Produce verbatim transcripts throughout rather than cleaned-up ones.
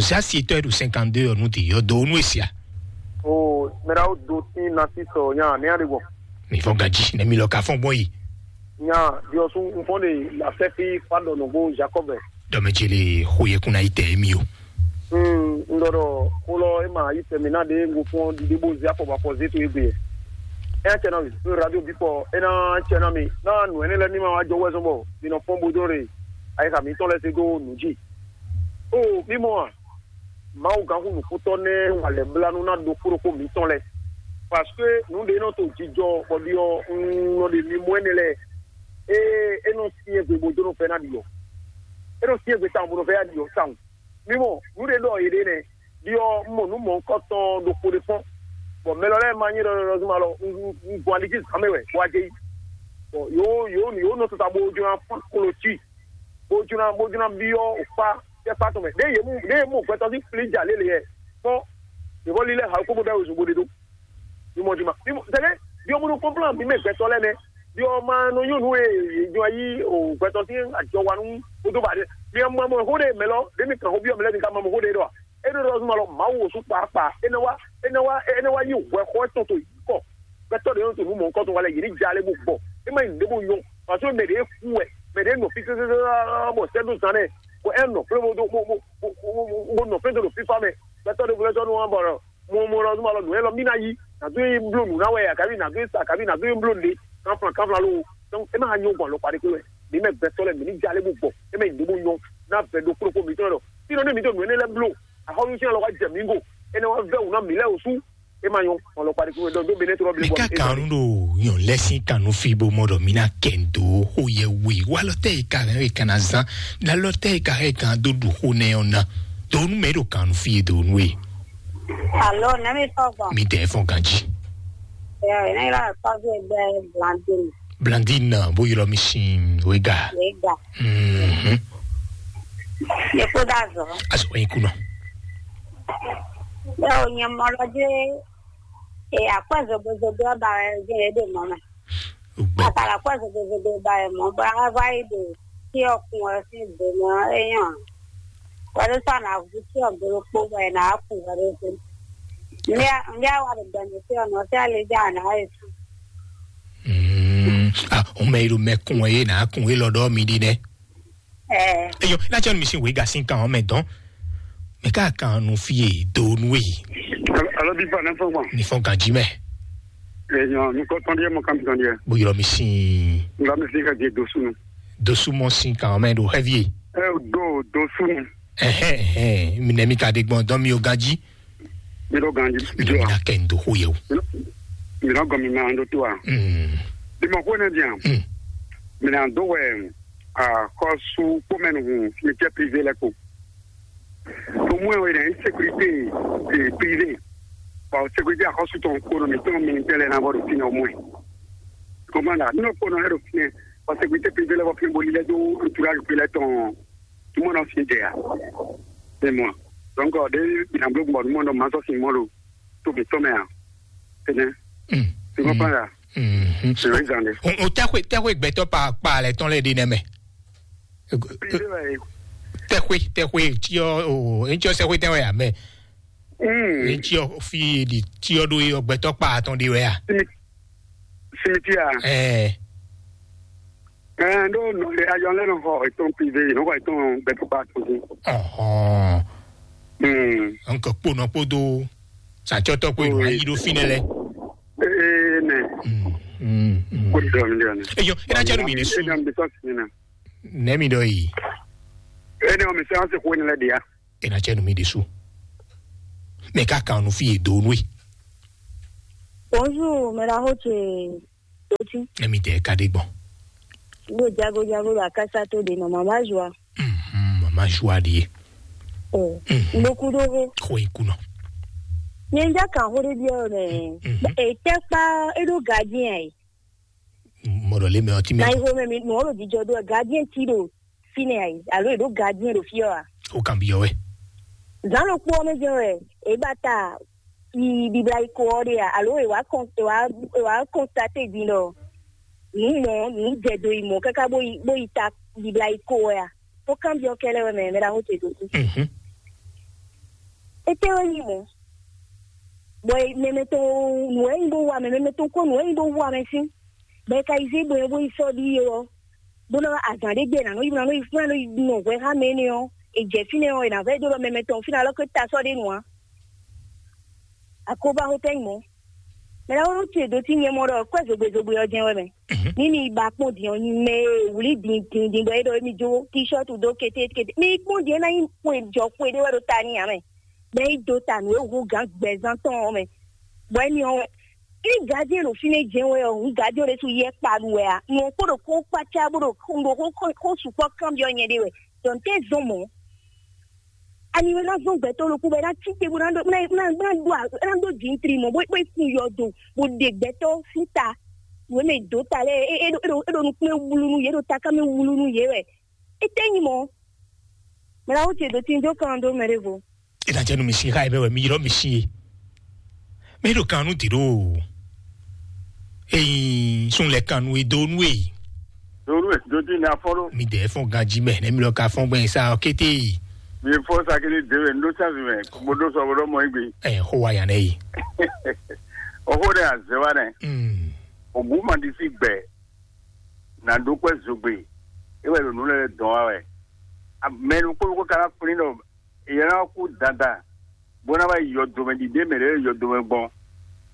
Sasi etɔ́ e ɖo cinquante-deux ɔ́ nu ti yɔ do nu esia. O mɛɖa wo do tin na ti sɔ nya ne ya de gbɔ. Mi fɔ ganji ne mi lɔ ka fɔ gbɔn yi. Nya diɔsu nfɔ de la fɛ fi fa dɔ nɔgbo Jacob. Dɔmɛ jele xo ye kun na yi tɛ mi o. Hmm, n dɔ dɔ xo lɔ e ma yi tɛ mi na de ngo fɔ dide bo zia fɔ ba fɔ zeto egbe. E ya cɛ na mi radio bipɔ e na cɛ na mi na nu ene lɛ mi ma wa jɔ wɛ zɔn bɔ mi nɔ fɔn bo dɔ re. Ayi ka mi tɔn lɛ se do nu ji. O mi mɔ a? Mawu gǎnxu nǔkútɔ́ nɛ́ wa lɛ̌ blánú ná ɖokpó ɖokpó mǐtɔn lɛ́ɛ, parce que nǔ ɖé nɔ to jijɔ bɔ ɖiɔ un nɔ ɖe mi mɔ énɛ́ lɛ́ɛ. Ée é nɔ syɛ́n gbe bó dó nɔ fɛ ná ɖiɔ. É nɔ syɛ́n gbe tawun bó nɔ fɛ ná ɖiɔ tawun. Mi mɔ nǔ ɖé ɖɔ yě ɖe nɛ́, ɖiɔ un mɔ nǔ mɔ̌hunkɔtɔn ɖokpó ɖé kpɔ́n, bɔ mɛ lɔ lɛ́ɛ ma nyí ɖɔɖɔɖɔ zuma lɔ un gbɔn ali jí zǎn mɛ wɛ bó wá jɛ yí. Bɔ yǒ yǒ yǒ nɔ tata bó jló ná fán klo cí. Bó jló ná bó jló ná byɔ́ wǔkpá tɛ́kpá tɔn mɛ. Ɖěe yě mú ɖěe yě mú gbɛtɔ́ sín flíjà lélẹ̀ yɛ kpɔ́n. Yě vɔ lílɛ́ ha kpó bó ɖɔ wezun bó ɖe ɖó. Mi mɔ juma mi mɔ tɛlɛ. Byɔ́ bó nɔ kɔnplán mi mɛ gbɛtɔ́ lɛ́ɛ nɛ́. Byɔ́ ma nɔ nyɔ́ nǔ e yě jɔ yí o gbɛtɔ́ sín ajɔ wa nú bó dó ba ɖe. Mi mɔ mɔ xó ɖe mɛ lɔ ɖě mi kàn xó byɔ́ mi lɛ́ɛ mi ka mɔ mɔ xó ɖe ɖɔ a? É ɖo ɖɔ zuma lɔ Mawu wǒ sú kpaakpa. É nɛ wá é nɛ wá é nɛ wá yí hwɛxɔ tɔn to yǐ kɔ. Gbɛtɔ́ ɖě nɔ to nǔ mɔ̌hunkɔtɔn wa lɛ yě ní ja lé bó gbɔ. É má nyí nǔɖé bó nyɔ́. Parce que mɛ ɖě kú wɛ, mɛ ɖě nɔ fí sésésé bɔ sɛ́ dó zan nɛ, bɔ é nɔ flé bó dó bó bó bó bó bó nɔ flé dó ɖo fífá mɛ. Gbɛtɔ́ ɖěvo lɛ́ɛ sɔ́ nú wa bɔ mɔ mɔ lɔ nú ma lɔ nǔ élɔ́ mí ná yí, nǎ dó nyi bló nǔ ná wɛ, akabi nǎ dó nyi sa, akabi nǎ dó nyi bló nǔɖé, kanflan kanflan ló. Donc é má nyɔ́ gbɔn alɔkpa ɖé kpé wɛ. Mǐ mɛ gbɛtɔ́ lɛ́ɛ mǐ ní ja lé bó gbɔ. É má nyí nǔɖé bó nyɔ́ ná vɛ ɖokpó ɖokpó mǐtɔn lɔ. Fínɔ nú mǐ ɖo nǔ énɛ́ lɛ́ɛ bló, axɔ́nú sín alɔ wá jɛ mǐ go. É ná wá vɛ́ wǔ ná mǐ lɛ́ɛ wǒ sú. É ma nyɔ́, hɔn lɔ kpaɖi kúwe dɔn dó Benin trɔ mi bli bɔ ka kan nu ɖo nyɔn lɛ sin kan nu fi bo mɔ ɖɔ mi na kɛ n do xo yɛ we wa lɔ tɛ yi ka hɛn yi kan na zan la lɔ tɛ yi ka hɛn kan do ɖu xo nɛ ɔ na do nu mɛ ɖo kan nu fi ye do nu ye. Alo, ne mi fɔ gbɔn. Mi dɛ fɔ ganji. Ɛ ne la kɔvi gbɛ Blandine. Blandine na bo yɔrɔ mi sin wega. Wega. Mhm. Ye ko da zɔ. Aso yin kunɔ. Ɛ o nyɛ mɔ lɔ dé. E akwɛ́ zogozogo ɔ́ ba wɛ jɛ é ɖe mɔ̌ mɛ. Akala akwɛ́ zogozogo ba wɛ mɔ̌ bɔ a vá yi ɖo tí ɔkun ɔ́ sín do mɛ ɔ́ é nyɔ́ ǎ. Wɛɖú sɔ́ ná hú tí ɔgbo ɖokpó bɔ è nǎ wá kun wɛɖú dó. Nbí a wá ɖo gbɛmɛ tí ɔnɔ tí a lè dá àná wá yi sùn. Ah, o mɛ yi ɖo mɛ kun wɛ yé nǎ kun wé lɔ ɖɔ mi ɖi nɛ. Eyɔ, na cɛ nu mi sin wega sin kan mɛ dɔn. Mɛ ka kan nu fi ye do nu we. Alo bi fa ne fɔ gbɔn. Ni fɔ ganji mɛ. Eyɔ, mi kɔ tɔn diɛ mo kan tɔn diɛ. Bo yɔrɔ mi sin. Nga mi sin ka je do sunu. Do sumɔ sin kan mɛ do heavy. E do do sunu. Ɛhɛn ɛhɛn, mi nɛ mi ka de gbɔn dɔn mi o ganji. Mi do ganji. Mi do mi na kɛ n do ho yɛ o. Mi do gɔn mi ma do to a. Mm. Bi mo ko ne diɛ. Mm. Mi na do wɛ. Axɔ́sú kpó mɛ nǔhún mi jẹ́ privé lɛ́ɛ kpo. Tó mú ẹ wɛ ɖɛ sécurité privé. Bɔ sécurité axɔ́sú tɔn kpo ɖo mǐtɔn militaire lɛ́ɛ ná bɔ ɖo fínɛ́ ɔ́ mú ɛ. Kɔmanda, nínú kpo nɔ ɛ ɖo fínɛ́, bɔ sécurité privé lɛ́ɛ bɔ fínɛ́ bo lílɛ́ dó entourage kpé lɛ́ɛ tɔn. Tó mɔ nɔ fi jɛ ya. Ẹ mɔ. Donc ɖé ìnàgbé gbɔn nú mɔ nɔ màá sɔ sin mɔ ɖo tó mǐtɔn mɛ a. Tɛnɛ. Tó mɔ kpán ya. Mhm. Sèrè zan de. O o tɛxwe tɛxwe gbɛtɔ pa pa lɛ tɔn lɛ di nɛ mɛ. Tɛxwe tɛxwe tiɔ o etiɔ sɛxwe tɛwɛ ya mɛ. Etiɔ fi di tiɔ do yɔ gbɛtɔ pa atɔn di wɛ ya. Simitia. Ɛɛ. Ɛɛ, ɖó nɔ ayɔ lɛ nɔ xɔ etɔn privé, nɔ xɔ etɔn gbɛtɔ pa atɔn di. Ɔhɔn. Hmm. Nkɔ kpɔnɔ kpɔdo sàtsɔtɔ kpɔdo ayi ɖo fi nɛ lɛ. Ee nɛ. Mm, mm, mm. Kó di dɔn mi dɔn. Eyɔ, ena cɛ nu mi de su. Ena mi de sɔ si na. Nɛ mi dɔ yi. Ena mi sɛ ase ko ne lɛ dia. Ena cɛ nu mi de su. Mɛ ka kan nu fi ye do nu ye. Bonjour, mɛ la ho ce. Oti. Nɛ mi de ka de gbɔn. Wo jago jago la kasa to de nɔ mama joa. Mhm, mama joa de. Oh, mhm. Ndoku do ho. Ko ikunɔ. Nye nja kan ho de biɔ ne. Mhm. E tɛ kpa e do gardien ai. Mɔdɔ le mɛ ɔti mɛ. Na iho mɛ mi no ro dijo do gardien ti do fine ai. Alo e do gardien do fiɔ a. O kan biɔ wɛ. Zan lo kpo me je wɛ. E bata yi bibla yi ko ɔ de a. Alo e wa kon e wa e wa constate din do. Nǔ mɔ nǔ jɛ do yi mɔ káká bó yi bó yi ta bibla yi ko wɛ a. Tó kanbyɔ́ kɛ́lɛ́ wɛ mɛ mɛ ɖaxó ce dó. Mhm. Étɛ́ wɛ nyí mɔ̌? Bɔ mɛmɛ tɔn nǔ wɛ nyí bó wa mɛ, mɛmɛ tɔn kɔn nǔ wɛ nyí bó wa mɛ sín. Bɔ è ka yi zé bɔ è bó yi sɔ́ ɖíe ɔ́, bó nɔ azǎn ɖé gbe è nǎ nɔ yi, nǎ nɔ yi fún nɔ yi nɔ hwɛ xá mɛ énɛ́ ɔ́, è jɛ fínɛ́ ɔ́, è nǎ vɛ́ dó ɖɔ mɛmɛ tɔn fínɛ́ alɔ ké ta sɔ́ ɖé nu ǎ. Akóbá hótɛ́ nyí mɔ̌. Mɛ ɖaxó nɔ ce dó tí nyɛ mɔ ɖɔ kwɛ́ zogbe zogbe ɔ́ jɛ́n wɛ mɛ. Ní mi ba kpɔ́n din ɔ́, nyi mɛ e wlí din din din bɔ é ɖɔ émí jó tíshɔ́tu dó kétékété. Mi kpɔ́n din é ná nyí xwe jɔ xwe ɖé wɛ ɖo ta ní ǎ mɛ. Bɔ é yi dó ta nǔ e hú gǎn gbɛzán tɔn ɔ́ mɛ. Bɔ émí ɔ́ wɛ. Ní gǎjé ɖo fínɛ́ jɛ́n wɛ ɔ́, hǔn gǎjé ɖésú yɛ kpa ɖu wɛ ǎ. Nǔ ɔ́ kpo ɖo kó kpácá bó ɖo xó ɖo xó xó xó sukpɔ́ kanbyɔ́ nyɛ ɖé wɛ. Dɔ̌n tɛ́ zɔn mɔ̌. Ani wɛ ná zɔn gbɛtɔ́ ɖokpó bɔ é ná cí te bó ná ɖó ná ná ná ɖó ná ɖó jǐntri mɔ̌ bó bó kun yɔdo bó ɖe gbɛtɔ́ sín ta. Wě mɛ dǒ ta lɛ́ɛ é é ɖo é ɖo é ɖo nukún e wlú nú yě, é ɖo taká mɛ wlú nú yě wɛ. Étɛ́ nyí mɔ̌? Mɛ ná wú ce dǒ tin dó kan dó mɛ ɖěvo. Ena jɛ nu mi si xa ebe wɛ mi yrɔ mi si ye. Mi ɖo kan nu di ɖo. Eyi sun lɛ kan nu e do nu e. Ɖo nu e do di na fɔ ɖo. Mi dɛ fɔn ganji mɛ ne mi lɔ ka fɔn gbɛn sa ɔ kété yi. Mi fɔ sakiri de wɛ ndo sa vi mɛ mo do sɔ bo dɔ mɔ igbe. Ɛ xo wa yan ne yi. Ɔxo ɖe azɛ wa nɛ. Mm. Ogu ma di si gbɛ. Na ɖó kpɛ zogbe. E wɛ ɖo nu lɛ dɔn wa wɛ. Mɛ nu kpó kó kana kplin ɖɔ yě ná kú dandan, bó ná wá yi yɔdomɛ ɖiɖe mɛ lɛ́ɛ yɔdomɛ gbɔn.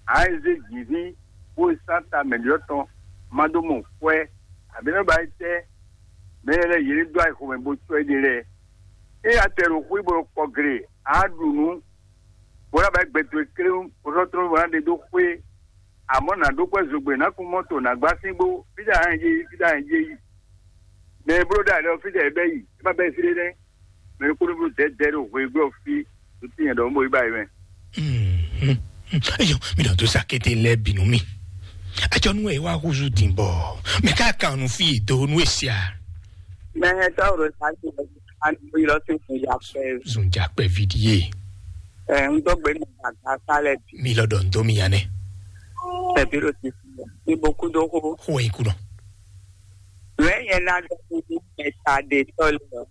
Ǎ e zé jǐví bó yi sán ta mɛ̌ɖyɔ́ tɔn ma dó mɔ xwɛ, abǐ nɔ ba yi tɛ́ mɛ lɛ́ɛ lɛ́ɛ yě ní dó ayixo mɛ bó cɔ́ éɖée lɛ́ɛ. Ényí a tɛ ɖo xwé bó ɖo kɔ gle, ǎ ɖu nǔ, bó ná ba yi gbɛ towe kléwún, bó sɔ́ tlɔ́n bó ná ɖe dó xwé. Amɔ̌ nǎ ɖó kpɛ́ zogbe, nǎ kun mɔ́to, nǎ gbá síngbó, fí ɖé a hɛn yé yi, fí ɖé a hɛn yé yi. Mɛ e bló ɖó alɛ ɔ́, fí ɖé ɛ bɛ́ yi, é má bɛ́ fí ɖé nɛ́. Mɛ e kúɖúblú dɛ̌dɛ̌ ɖo hweglɔ́ fí ɖo tínyɛ ɖɔ mɔ yi ba yi mɛ. Eyɔ, mi ɖɔ dó sa kété lɛ́ɛ bǐ nú mì. Acɔnú e wá húzú din bɔ mɛ ká kan nu fí e do nú e sia. Mɛ hɛn tɔ́ ɖo sa ti ani bó yi lɔ sí fún ya pɛ. Zun ja pɛ vidie. Ɛ, n dó gbe ní gbàgbà sálẹ̀ bí. Mi lɔ ɖɔ n dó mi ya nɛ. Tẹ̀bí ló ti fi ní bó kú dó xó. Xó e kú nɔ. Lẹ́yìn ẹ̀ náà lọ sí ní mẹ́ta dé tọ́ lọ.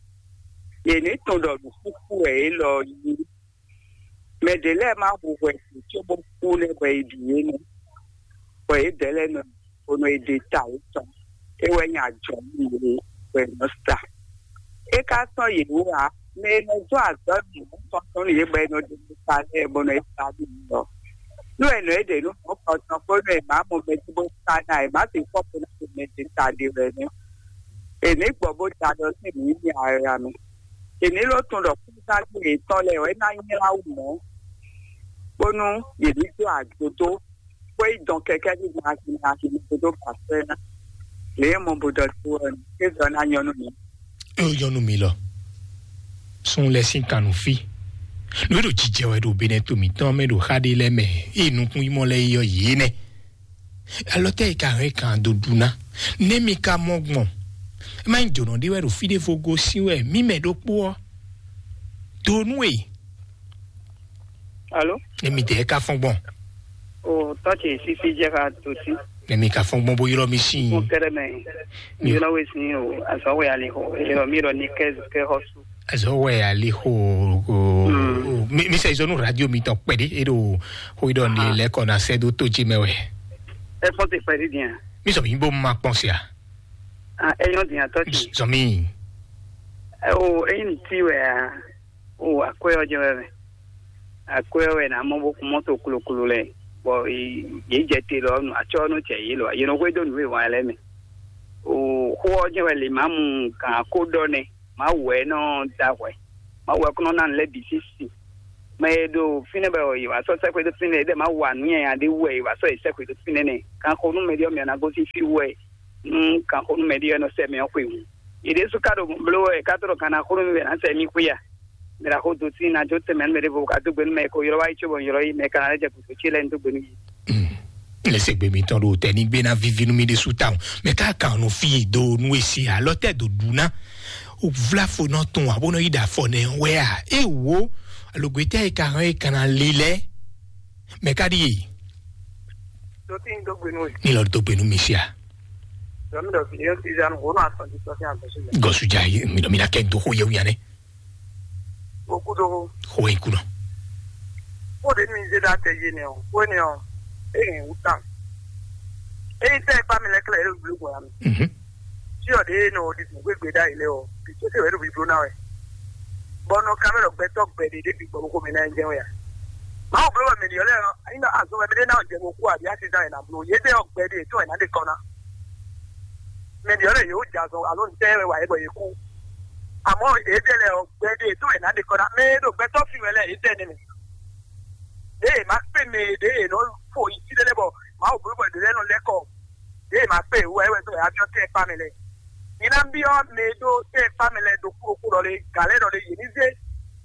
Yèní tún ɖɔ nǔkúkú ẹ̀ é lɔ yí. Mɛ ɖě lɛ́ɛ má hu hwɛ ǎ, cóbó kú nɛ́ hwɛ yi bǐ é nɛ́. Bɔ yě dɛ̌ lɛ́ɛ nɔ bó nɔ yi ɖe ta yětɔn. É wɛ nyí ajɔ̌ nú yě hwɛ nɔ sa. É ka sɔ́ yě wú ǎ, mɛ e nɔ dó azɔ̌ nǔ tɔn tɔn nú yě bɔ è nɔ ɖe nú sa lɛ́ɛ bó nɔ yi sa nú yě ɔ́. Nú è nɔ é ɖe nú mɔ̌ kɔtɔn bónú è má mɔ mɛ jí bó sa ná è má sixú bó ná ɖo mɛ jí ta ɖe wɛ nɛ́. È ní gbɔ bó da ɖɔ sín nǔ ní ara mɛ. È ní ló tunwun ɖɔ kúzágbé yětɔn lɛ́ɛ wɛ ná nylá wú mɔ̌, bónú yě ní dó agbodó, bó yi dɔn kɛkɛ́ ní mlaki mlaki ní gúdo ba sɛ́ ná. Lě e mɔ bo ɖɔ dó ɔ́, é zɔ ná nyɔ́ nú mi. É nyɔ́ nú mi lɔ. Sun lɛ sín kan nú fí. Nǔ e ɖo jijɛ wɛ ɖo Benɛto mǐtɔn mɛ ɖo xá ɖé lɛ́ɛ mɛ, ée nukún yi mɔ lɛ́ɛ yi ɔ́, yě nɛ́. Alɔ tɛ́ e ka hɛn kan dó ɖu ná? Nɛ́ mi ka mɔ gbɔn? É má nyí jǒnɔ ɖé wɛ ɖo fí ɖěvo gosín wɛ mǐ mɛ ɖokpó ɔ́. Do nú e. Alo? Nɛ́ mi dɛɛ ka fɔn gbɔn? O tɔ́ ce sísí jẹ́ ká tó sí. Nɛ́ mi ka fɔn gbɔn bó ylɔ́ mi sín? Mo kɛrɛ mɛ. Mi ylɔ́ we sín o, azɔ́ wɛ ali xo, ylɔ́ mi ylɔ́ ní kɛ kɛ xɔ su. Azɔ wɛ ali xo. Mi mi sɛ izɔnu radio mi tɔn kpɛɖe e ɖo xo yi ɖɔ ni lɛ kɔ na sɛ do to ji mɛ wɛ. Ɛ fɔ te kpɛɖe diɛ. Mi sɔ mi bo ma kpɔn sia. Ah, ɛ yɔn diɛ tɔ ti. Sɔ mi. Ɛ o eyi ni ti wɛ a. O akwɛ ɔ jɛ wɛ mɛ. Akwɛ ɔ wɛ na mɔ bo kun mɔto kloklo lɛ. Bɔ ye jɛ te lɔ nu atsɔ nu cɛ ye lɔ ye nɔ hwe do nu e wa lɛ mɛ. O xo ɔ jɛ wɛ le ma mu kan ko dɔ nɛ. Mawu wɛ nɔ da hwɛ. Mawu wɛ kɔnɔ na lɛ bi sisi. Mɛ e ɖo fínɛ́ bɛ yi wá sɔ sɛkpɛ ɖo fínɛ́ ɖe ma wa nǔ nyanya ɖé wɛ yi wá sɔ yi sɛkpɛ ɖo fínɛ́ nɛ. Kan xo nú mɛ ɖiɔ mɛ na gosín fí wɛ nú kan xo nú mɛ ɖiɔ nɔ sɛ mɛ ɔ́ xwe hǔn. Yi ɖésú ka ɖo bló wɛ ka tɔ́ ɖo kan na xo nú mɛ na sɛ mí xwe a. Mɛ ɖa xo do sí na jó tɛmɛ nú mɛ ɖé vo ka dó gbe nú mɛ ko ylɔ́ wá yi có bɔ ylɔ́ yi mɛ ka na lɛ́ jɛ kùkù cí lɛ́ɛ ní dó gbe nú yi. Lɛsɛgbe mitɔn ɖo tɛ ní gbé ná vivi nú mi ɖésú tawun. Mɛ ká kan nu fí e do nú e se alɔ tɛ do ɖu ná. O vla fo nɔ tun abo nɔ yi ɖa fɔ nɛ wɛ a? E wo alogbetɛ e ka hɛn e kana li lɛ. Mɛ ká ɖi e. Dɔtí ń dógbe nú ẹ. Ní lọ dógbe nú mi sia. Dɔmí dɔ fi yóò ti zanu wò nù asɔn ti sɔ sí àgbẹ̀sí lẹ. Gɔsu ja yi mi dɔ mi na kɛ do xo yewu yanɛ. Okú dó. Xo e kunɔ. Xó ɖě mi zé ɖó atɛ yé nɛ ɔ́, xó énɛ́ ɔ́, é hɛn wú tawun. Ényí tɛ́ e kpá mi lɛ́ɛ klɛ́ é ɖo bló gbɔn ǎ mi. Mhm. Cyɔ ɖě e nɔ ɖi nǔgbégbé ɖ'ayǐ lɛ́ɛ ɔ́, vǐ sésé wɛ é ɖo bibló ná wɛ. Bɔ nɔ ka mɛ ɖɔ gbɛtɔ́ gbɛ ɖě ɖě bǐ gbɔ bó xomɛ ná ɛ jɛ́n wɛ ǎ. Mawu bló wɛ mɛ ɖiɔ lɛ́ɛ ɔ́, ényí ɖɔ azɔn wɛ mɛ ɖé ná jɛ mo kú abǐ asizán wɛ ná bló. Yě ɖɛ ɔ́ gbɛ ɖě tɔn wɛ ná ɖe kɔ ná. Mɛ ɖiɔ lɛ́ɛ yě wó jɛ azɔn alo ntɛ́ wɛ wa yě bɔ yě kú. Amɔ̌ yě ɖɛ lɛ́ɛ ɔ́ gbɛ ɖě tɔn wɛ ná ɖe kɔ ná. Mɛ e ɖo gbɛtɔ́ fi wɛ lɛ́ɛ yě ɖɛ nɛmɛ. Ɖěe è ma kpé mɛ e ɖěe è nɔ fo yi fí ɖé lɛ́ɛ bɔ Mawu bló bɔ è ɖǒ lɛ́ɛ nɔ lɛ́ kɔ. Ɖěe è ma kpé wɛ wɛ dó yǎ byɔ́ tɛ́ kpá mɛ lɛ́ɛ. Mi ná byɔ́ mɛ e ɖó tɛ́ kpá mɛ lɛ́ɛ ɖokpó ɖokpó ɖɔ lé, gǎ lɛ́ɛ ɖɔ lé, yě ní zé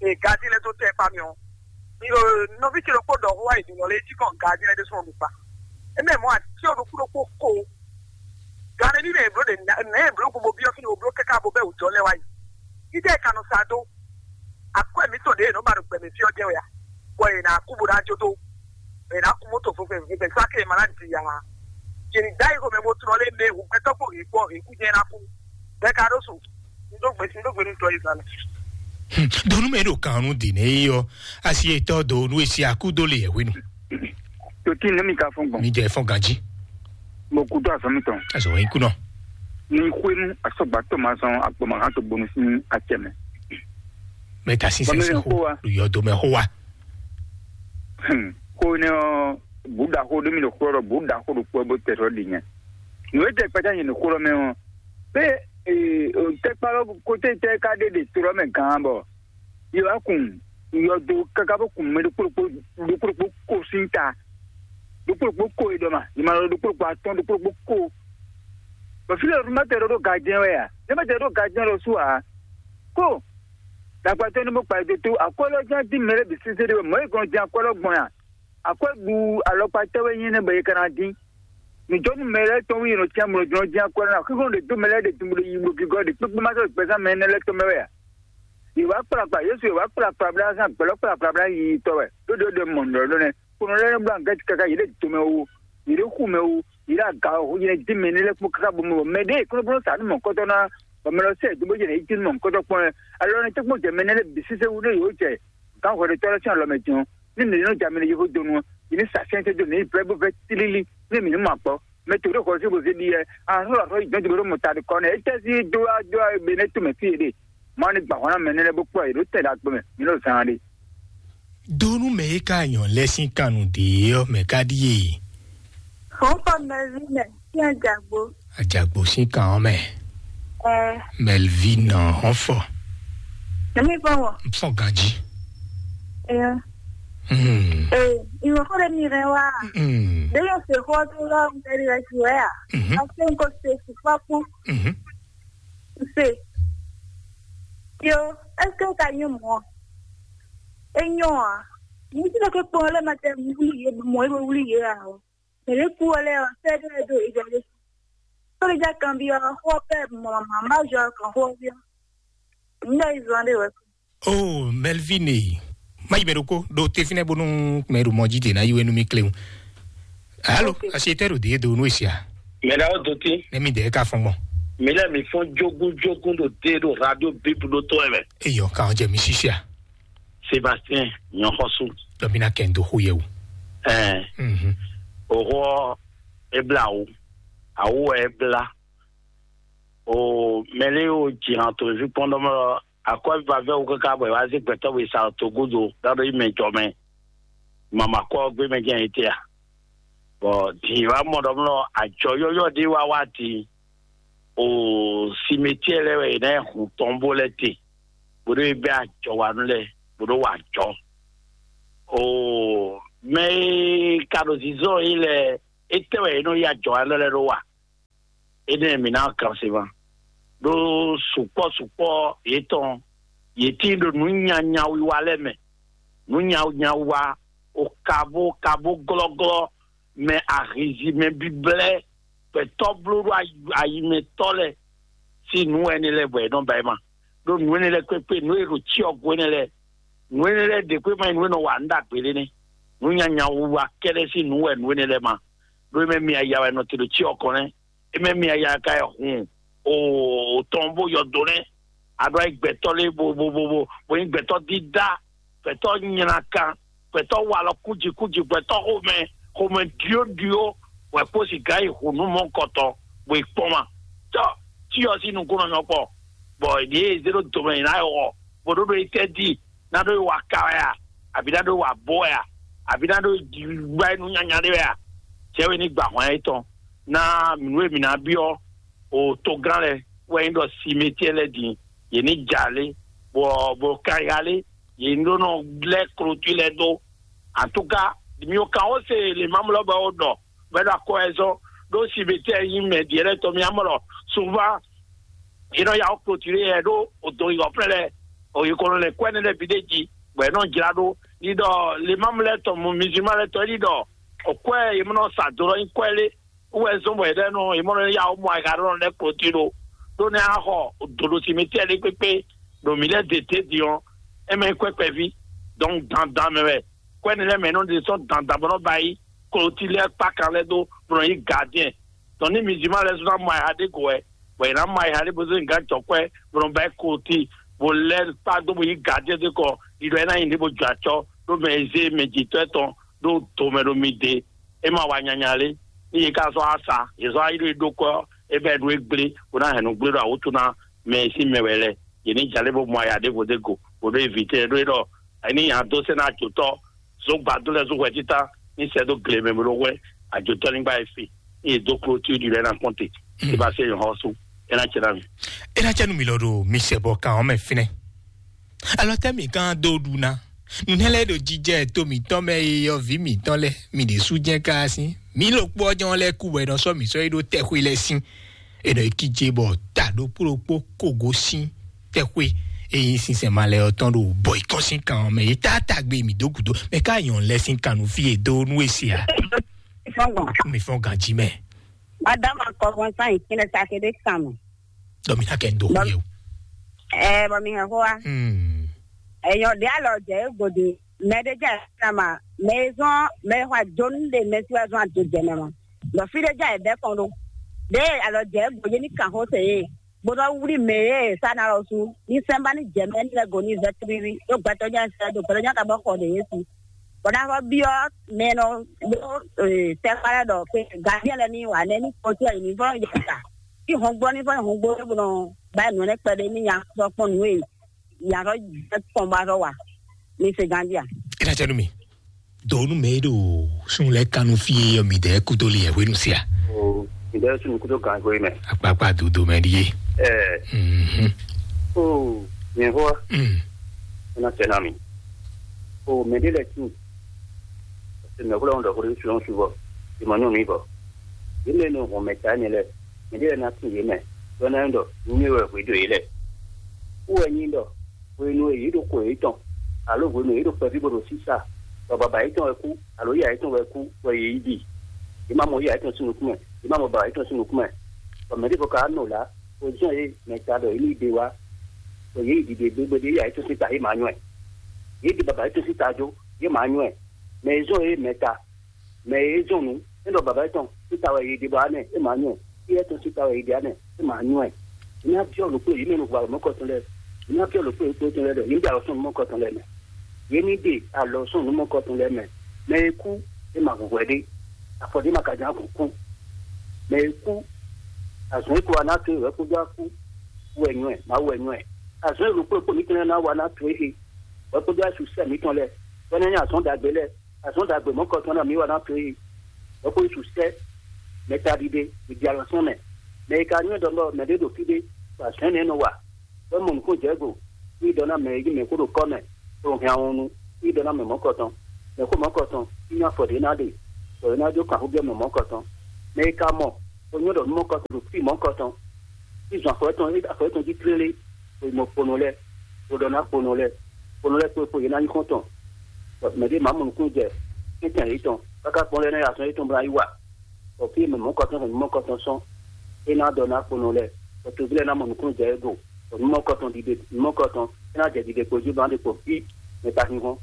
e gají lɛ́ɛ dó tɛ́ kpá mɛ ɔ́. Mi ɖo nɔví ce ɖokpó ɖɔ xó wá yi din ɖɔ lé, é cí kɔn gají lɛ́ɛ ɖésú ɔ́ mi kpa. Émɛ mɔ̌ atyɔ́ ɖokpó ɖokpó ko. Gǎn nɛ́ ní mɛ è blǒ ɖe nɛ̌ è blǒ gbogbo byɔ́ fínɛ́, è blǒ káká bó bɛ́ wǔjɔ lɛ́ɛ wá yi. Fítɛ́ è ka nɔ sa dó? Akwɛ́ mǐtɔn ɖě è nɔ ba ɖo gbɛ mɛ fí ɔ́ jɛ́n wɛ a? Bɔ è nǎ kú bó ná jó dó, è nǎ kú moto vɛvɛ vɛvɛ sɔ́ akélé ma ná di ǎ. Yě ní dó ayi xomɛ bó tlɔ́ lé mɛ hǔgbɛ́tɔ́ kpó hǐkpɔ́ hǐkú jɛ́n ná kú. Bɛ́ ka ɖó su? Un dó gbe, un dó gbe nú tɔ́ Izlayɛ́li. Donu mɛ ɖo kan nu dì nɛ yi ɔ, asi etɔ do nu esi aku do le yɛ wenu. Tòtí nú mi ka fɔn gbɔn. Mi jɛ fɔn ganji. Mo kú tó azɔn mi tɔn. Azɔ yin kunɔ. Ní xwénu asɔgbatɔ ma zɔn agbɔmɔhan tó bonu sín acɛ mɛ. Mɛ ta sísɛ Bɔmɛ sí xó xó wa. Lu yɔ do mɛ xó wa. Hmm. Xó ne ɔ, buda xó ɖé mi ɖo xó ɖɔ buda xó ɖo kpɔ bó tɛ sɔ ɖi nyɛ. Nǔ e tɛ kpɛtɛ nyɛ ɖo xó ɖɔ mɛ ɔ, pé tɛkpa lɔ kote tɛ ka ɖe ɖe to lɔ mɛ gán bɔ yɔ wá kun yɔ do kaka bó kun mɛ ɖokpó ɖokpó ɖokpó ɖokpó ko sín ta. Ɖokpó ɖokpó ko e ɖɔ ma, yɛ ma lɔ ɖokpó ɖokpó atɔn ɖokpó ɖokpó ko. Bɔ fí lɛ ɖo ma tɛ ɖo ɖo gajɛn wɛ a? Ne ma tɛ ɖo gajɛn lɔ sú a? Ko dagbatɔ ne mo kpa do to akwɛ́ lɔ jɛn dín mɛ lɛ bǐ sese ɖe wɛ mɔ̌ e gɔn jɛn akwɛ́ lɔ gbɔn ya? Akwɛ́ ɖu alɔkpa tɛ́ wɛ nyí nɛ́ bɔ è ka ná dín? Nǔjɔnú mɛ lɛ́ɛ tɔn wú yě nɔ cyán mlɔjɔnɔ jɛ́n akwɛ́ ná xíxɔ́ ɖě dó mɛ lɛ́ɛ ɖě dun bó ɖo yi bó gígɔ́ ɖě kpékpé má sɔ́ gbɛzán mɛ énɛ́ lɛ́ɛ tɔn mɛ wɛ a? Yě wá kplakpla Yésu, yě wá kplakpla blá zán gbɛ̌lɔ́ kplakpla blá yiyi tɔ́ wɛ. Ɖó ɖě ɖe mɔ nǔɖɔɖó nɛ́. Kplɔ́n lɛ́ɛ nɔ blá nǔ gɛ́ káká yě ɖo do mɛ wu, yě ɖo xu mɛ wu, yě ɖo aga ɔ́ hu, yě nɔ dín mɛ énɛ́ lɛ́ɛ kpó káká bó mɔ bɔ mɛ ɖěe kplɔ́nplɔ́n sa nú mɔ̌hunkɔtɔn ná, bɔ mɛ lɔ sɛ do bó jɛ nɛ̌ yi cí nú mɔ̌hunkɔtɔn kpɔ́n wɛ. Alɔ nɔ tɛ́nkpɔ́n jɛ mɛ énɛ́ lɛ́ɛ bǐ sísé wú ɖó yě wó jɛ gǎnhwɛɖótɔ́ lɛ́ɛ sín alɔ mɛ din ɔ́, ní mǐ ní nɔ jɛ mɛ ɖě yěhó donu ɔ́, mǐ ní sa sɛ́nsɛ́n dó mǐ ní vɛ́ bó vɛ́ tlílí, ní mǐ ní mɔ akpɔ́. Mɛ to ɖé xɔ sí bó zé ɖi yɛ, ahlɔ́ ahlɔ́ yi dɔn jogbo ɖó mɔ ta ɖi kɔ nɛ́, étɛ́ sí dó wá dó wá be nɛ́ to mɛ fí yě ɖe? Má ní gbǎ hɔn ná mɛ nɛ́ lɛ́ɛ bó kplɔ́ yě ɖó tɛn ɖagbe mɛ, mǐ nɔ zán ɖe. Donu mɛ e ka nyɔ lɛ sín kannu dě ɔ́ mɛ ka ɖíe. Fɔnfɔn mɛvi mɛ, kí ɛ jagbo. Ajagbo sín kan ɔ́ mɛ. Ɛ, Melvin hɔn fɔ. Èmi fɔ wọ. Fɔ ganji. Ɛ, Hmm. Ɛ, ìwọ kọ́ lè mi rẹ wá. Hmm. Lè yọ se xɔ tó lọ ń tẹ̀lé rẹ sí wẹ́ à. Mhm. Àti nǹkan ṣe fipá kú. Mhm. Ṣe. Yo, est-ce que ka nyɔ mɔ? E nyɔ a? Ní tí lókè kpɔn lé ma tẹ wuli yé mɔ é wuli yé a o. Mɛ lè kú wọlé ọ, sẹ́ dó ẹ dó ìgbà lè. Sórí já kan bí ọ, xó pẹ́ mọ̀ màmá má jọ kàn xó bí ọ. Nígbà yìí zan dé wẹ̀. Oh, Melvin e. Má yi mɛ ɖokpó ɖo te fínɛ́ bónú mɛ ɖo mɔ jí dě ná yi wɛ nú mì kléwún. Alo, Ok. Asi tɛ ɖo dě do nú esia. Mɛ ɖawo do tí. Ne mi dɛ ka fɔn gbɔn. Mi lɛ mi fɔn jogun jogun ɖo dé ɖo radio bíbu ɖo tó ɛ mɛ. Eyɔ, ka ɔn jɛ mi sisia. Sébastien Nyɔxɔsú. Dɔ mi na kɛ n do xó yɛ o. Ɛɛ. Mhm. Òhɔ ebla awu. Awu ebla. O mɛlɛ o jìnnà tó fi kpɔn ɖɔ mɔ akɔvivavɛ wo kaka bɔ wá sí gbɛtɔ bɛ sa tó godo ɖaɖo yi mɛ jɔ mɛ. Mama kɔ gbé mɛ jẹ́ yìí tɛ́ a? Bɔ dì wá mɔ ɖɔ mɔ àjọ yɔyɔ ɖé wá wá dì. O simetiɛ lɛ wɛ yìí náà hun tɔn bó lɛ te. Bó ɖó bɛ àjọ wa nú lɛ bó ɖó wà jɔ. O mɛ e ka ɖo zizɔ yìí lɛ, etɛ wɛ yìí nɔ yí àjọ wa nú lɛ ɖó wa. Énɛ́ mǐ ná kan se ma. Ɖó sukpɔ́ sukpɔ́ yětɔn, yě tíin ɖo nǔ nyanya wiwa lɛ́ɛ mɛ. Nǔ nyanya wiwa, o kabo kabo glɔ́glɔ́ mɛ ahizi mɛ bíblɛ́ gbɛtɔ́ bló ɖó ayi mɛ tɔ́ lɛ́ɛ sín nǔ wɛ énɛ́ lɛ́ɛ bɔ è nɔ ba ɛ ma. Ɖó nǔ énɛ́ lɛ́ɛ kpékpé, nǔ e ɖo cyɔ go énɛ́ lɛ́ɛ, nǔ énɛ́ lɛ́ɛ ɖě kpé ma nyí nǔ e nɔ wa nǔ ɖagbe lé nɛ́. Nǔ nyanya wiwa kɛ́ɖɛ́ sín nǔ wɛ nǔ énɛ́ lɛ́ɛ ma. Ɖó é mɛ mi aya wɛ nɔ te ɖo cyɔ kɔn nɛ́. É mɛ mi aya ka yi hun o tɔn bó yɔ do nɛ́. A ɖo ayi gbɛtɔ́ lé bo bo bo bo bo nyí gbɛtɔ́ dídá, gbɛtɔ́ nylá kan, gbɛtɔ́ walɔ kúji kúji, gbɛtɔ́ xomɛ xomɛ ɖyóɖyó, wɛ kpó sika yi hǔnú mɔkɔtɔ, bó yi kpɔ́n ma. Tɔ tí ɔ sín nukúnnɔ nyɔ kpɔ, bɔ ɖě e zé ɖó domɛ ná yi xɔ, bó ɖó ɖó yi tɛ́ dí, ná ɖó yi wa ka wɛ a, àbí ná ɖó yi wa bó wɛ a, àbí ná ɖó yi gbá yi nú nyanya ɖé wɛ a? Cɛ́ wɛ ní gba hɔn yɛtɔn ná mǐ nú e mǐ ná byɔ́ o togán lɛ́ɛ wɛ nyí ɖɔ simetiɛ lɛ́ɛ din, yě ní jalé, bɔ bɔ kayalé, yě ní ɖó nɔ lɛ́ klotí lɛ́ɛ dó. Antúka, mi ò kan ó se lè má mlɔ bɔ ó ɖɔ bɔ é ɖo akɔ ɛ zɔn ɖó simetiɛ nyí mɛ diɛ lɛ́ɛ tɔn mi amɔ lɔ souvent yě nɔ ya ó klotí lé yɛ ɖó o do yi ɔ̀flɛ́ lɛ́ɛ, o yi kɔnɔ lɛ kwɛ́ nɛ lɛ́ɛ bǐ ɖé jí, bɔ yě nɔ jlá ɖó ní ɖɔ lè má mlɔ tɔn mɔ mizima lɛ́ɛ tɔn é ní ɖɔ o kwɛ́ yě mɔ nɔ sa do lɔ nyí kwɛ́ lé wɛ zɔn bɔ yě ɖɔ nɔ yě mɔ nɔ ya ó mɔ ayǐ ɖɔ nɔ lɛ́ klotí ɖó ɖó nɛ á xɔ dǒɖo simetiɛ ɖé kpékpé ɖo mǐ lɛ́ɛ dě té din ɔ́, é mɛ nyí kwɛ́ kpɛví. Donc dandan mɛ wɛ kwɛ́ nɛ lɛ́ɛ mɛ nɔ ɖe sɔ́ dandan bɔ nɔ ba yí klotí lɛ́ɛ kpákan lɛ́ɛ dó bɔ nɔ yí gardien. Donc ní mizima lɛ́ɛ sɔ́ ná mɔ ayǐ ɖé go wɛ, bɔ yě ná mɔ ayǐ ɖé bó zé gǎn jɔ kwɛ́ bɔ nɔ ba yí klotí bó lɛ́ kpá dó bó yí gardien dó kɔ ɖiɖɔ é ná nyi ɖě bó jɔ acɔ́ ɖó mɛ e zé mɛ jǐtɔ́ tɔn ɖó do mɛ ɖo mi dě. É ma wa nyanya lé. Ní yě ká zɔ́ asa, yě zɔ́ ayí ɖó e ɖó kɔ ɔ́, é bɛ́ ɖó é gblé, bó ná hɛn nǔ gblé ɖo awǔtu ná mɛ e sín mɛ wɛ lɛ́ɛ. Yě ní jalé bó mɔ aya ɖěvo dé go, bó ɖó evi tɛn ɖó é ɖɔ é ní nya dó sɛ́ ná ajotɔ́ zó gbadó lɛ́ɛ zó hwɛ títá ní sɛ́ dó gle mɛ bó ɖó hwɛ ajotɔ́ ní gbá e fi. Ní yě dó kló tí ó ɖi lɛ́ɛ ná kpɔ́n te. É bá sɛ́ nyɔ̌ xɔ́sú, é ná cɛ ná mi. É ná cɛ nú mi lɔ ɖo mi sɛ bɔ kan ɔ́ mɛ fínɛ́. Alɔ tɛ́ mǐ gán dó ɖu ná? Nǔnɛ́ lɛ́ɛ ɖo jijɛ to mǐtɔn mɛ e yɔví mǐtɔn lɛ́ɛ mi ɖě sú jɛ́n káá sín. Mǐ ɖokpó ɔ́ jɛ́n ɔ́ lɛ́ɛ kú bɔ è nɔ sɔ́ mǐ sɔ́ yi ɖó tɛxwé lɛ́ɛ sín. È nɔ yi kíjé bɔ ta ɖokpó ɖokpó kogo sín tɛxwé e nyí sinsɛn malɛ ɔ́ tɔn ɖo bɔ yi kɔn sín kan ɔ́ mɛ. Yě tá tagbe mǐ dó gǔdo mɛ ká nyɔ̌nu lɛ́ɛ sín kan nú fí e dó nú e se a? Mi fɔ́n ganjí mɛ. Madame akɔvɔnsán yi kínɛ sa kéde kan mɛ. Dɔ mi ná kɛ ń dó xú yɛ o. Ɛ bɔ mi hɛn xó wa. Hmm. Ɛyɔ ɖe alɔ jɛ e gode mɛ ɖe jɛ na ma mɛ e zɔn mɛ e xɔ ajonu ɖe mɛ si wa zɔn ado jɛ mɛ ma. Dɔ fi ɖe jɛ e bɛ kɔn ɖo ɖe alɔ jɛ e gode ni kan xó se ye. Gbɔdɔ wuli mɛ ye sa na lɔ su ni sɛnba ni jɛ mɛ ni lɛ go ni vɛ tiriri ɖo gbɛtɔ nya sɛ ɖo gbɛtɔ nya ka bɔ xɔ ɖe ye si. Bɔ ná xɔ biɔ mɛ nɔ ɖo tɛkpa lɛ ɖɔ pe gadiɛ lɛ ni wa nɛ ni kpɔtɛ yi ni vɔ yɛ ta. Ki hɔn gbɔ ni vɔ hɔn gbɔ bɔ nɔ ba nɔ ne kpɛɖe ni nya sɔ kpɔn nǔ e ya sɔ jɛ kpɔn ba sɔ wa ni se gandia. Ina cɛ nu mi. Donu mɛ ɖo sun lɛ kanu fie yɔ mi dɛ kudo li yɛ hwenu sia. O, mi dɛ sun kudo gan hwe mɛ. Akpakpa dodo mɛ di ye. Ɛ. Mhm. O, mi hɔ. Mm. Ina cɛ na mi. O, mɛ de lɛ tu. Mɛ ko lɛ wɔn dɔ ko de su su bɔ. Di ma nyɔ mi bɔ. Di mɛ no hɔn mɛ ta ne lɛ. Mɛ de lɛ na tu ye mɛ. Dɔ na dɔ, nu mi wɛ hwe do ye lɛ. Ku wɛ nyi dɔ. Hwenu e yě ɖo xwe yětɔn, alo hwenu e yě ɖo kpɛví bó ɖo sísá, bɔ baba yětɔn wɛ kú, alo yá yětɔn wɛ kú, bɔ yě yi ɖi. Yě má mɔ yá yětɔn sín nukún mɛ, yě má mɔ baba yětɔn sín nukún mɛ. Bɔ mɛ ɖěvo ka nɔ lá, bó zɔ́n yě mɛ ta ɖɔ yě ní ɖe wá, bɔ yě yi ɖiɖe gbégbé ɖé yá yětɔn sín ta yě má nywɛ́. Yě ɖi baba yětɔn sín ta jó, yě má nywɛ́. Mɛ e zɔ́n yě mɛ ta, mɛ e zɔn nǔ, é ɖɔ baba yětɔn síta wɛ yě ɖe bɔ anɛ é má nyɔ ɛ, éyɛ́ tɔn síta wɛ yě ɖe anɛ é má nyɔ ɛ. Ná byɔ́ ɖokpó yě mɛ nɔ hu alɔ mɔkɔtɔn lɛ́ɛ. Ná byɔ́ ɖokpó yě kpó tɔn lɛ́ɛ ɖɔ yě ní ɖe alɔ sɔn nǔ mɔkɔtɔn lɛ́ɛ mɛ. Yě ní ɖe alɔ sɔn nǔ mɔkɔtɔn lɛ́ɛ mɛ. Mɛ e kú, é ma hu hwɛ ɖé. Afɔ ɖé ma ka ján kún kún. Mɛ e kú, azɔn e kó wa ná to wɛ kpódó akú wɛ nyɔ ɛ, má wɛ nyɔ ɛ. Azɔn e ɖokpó ɖokpó mǐtɔn lɛ́ɛ ná wa ná to é he, wɛ kpódó asú sɛ mǐtɔn lɛ́ɛ, bɔ é ná nyí azɔn ɖagbe lɛ́ɛ. Azɔn ɖagbe mɔ̌kɔtɔn ná mǐ wa ná to yi. Hwɛ̌kpó Yísu sɛ́ mɛ ta ɖiɖe, mǐ ɖi alɔ sɛn mɛ. Mɛ e ka nywɛ́ ɖɔ mɛɖé ɖo fí ɖé, bɔ azɔ̌ énɛ́ nɔ wa, bɔ é mɔ nǔkún jɛ̌go, yí ɖɔ ná mɛ e nyí mɛ̌xó ɖo kɔ́ mɛ, bó hɛn awɔnnu, yí ɖɔ ná mɛ mɔ̌kɔtɔn. Mɛ̌xó mɔ̌kɔtɔn, yí ná afɔ ɖě ná ɖe, bɔ é ná jó kanxúgbɛ́ mɛ mɔ̌kɔtɔn. Mɛ e ka mɔ, bó nywɛ́ ɖɔ nú mɔ̌kɔtɔn ɖo fí mɔ̌kɔtɔn, yí zɔn afɔ étɔn, afɔ étɔn jí tlélé, bó yi mɔ kponɔ lɛ́ɛ, bó ɖɔ ná kponɔ lɛ́ɛ, kponɔ lɛ́ɛ kpo e kpo yě ná nyí xɔ́ntɔn. Bɔ mɛ ɖé ma mɔ nukúnnú jɛ tɛ́ntin yětɔn, káká kpɔ́n lɛ́ɛ ná yi azɔn yětɔn bó ná yi wa. Bɔ fí e mɛ mɔ̌kɔtɔn hɛn numɔ̌kɔtɔn sɔ́, é ná ɖɔ ná kponɔ lɛ́ɛ, bɔ toví lɛ́ɛ ná mɔ nukúnnú jɛ é go, bɔ numɔ̌kɔtɔn ɖiɖe numɔ̌kɔtɔn é ná jɛ ɖiɖe kpo jí bó ná ɖe kpo fí mɛ ka hínhɔ́n,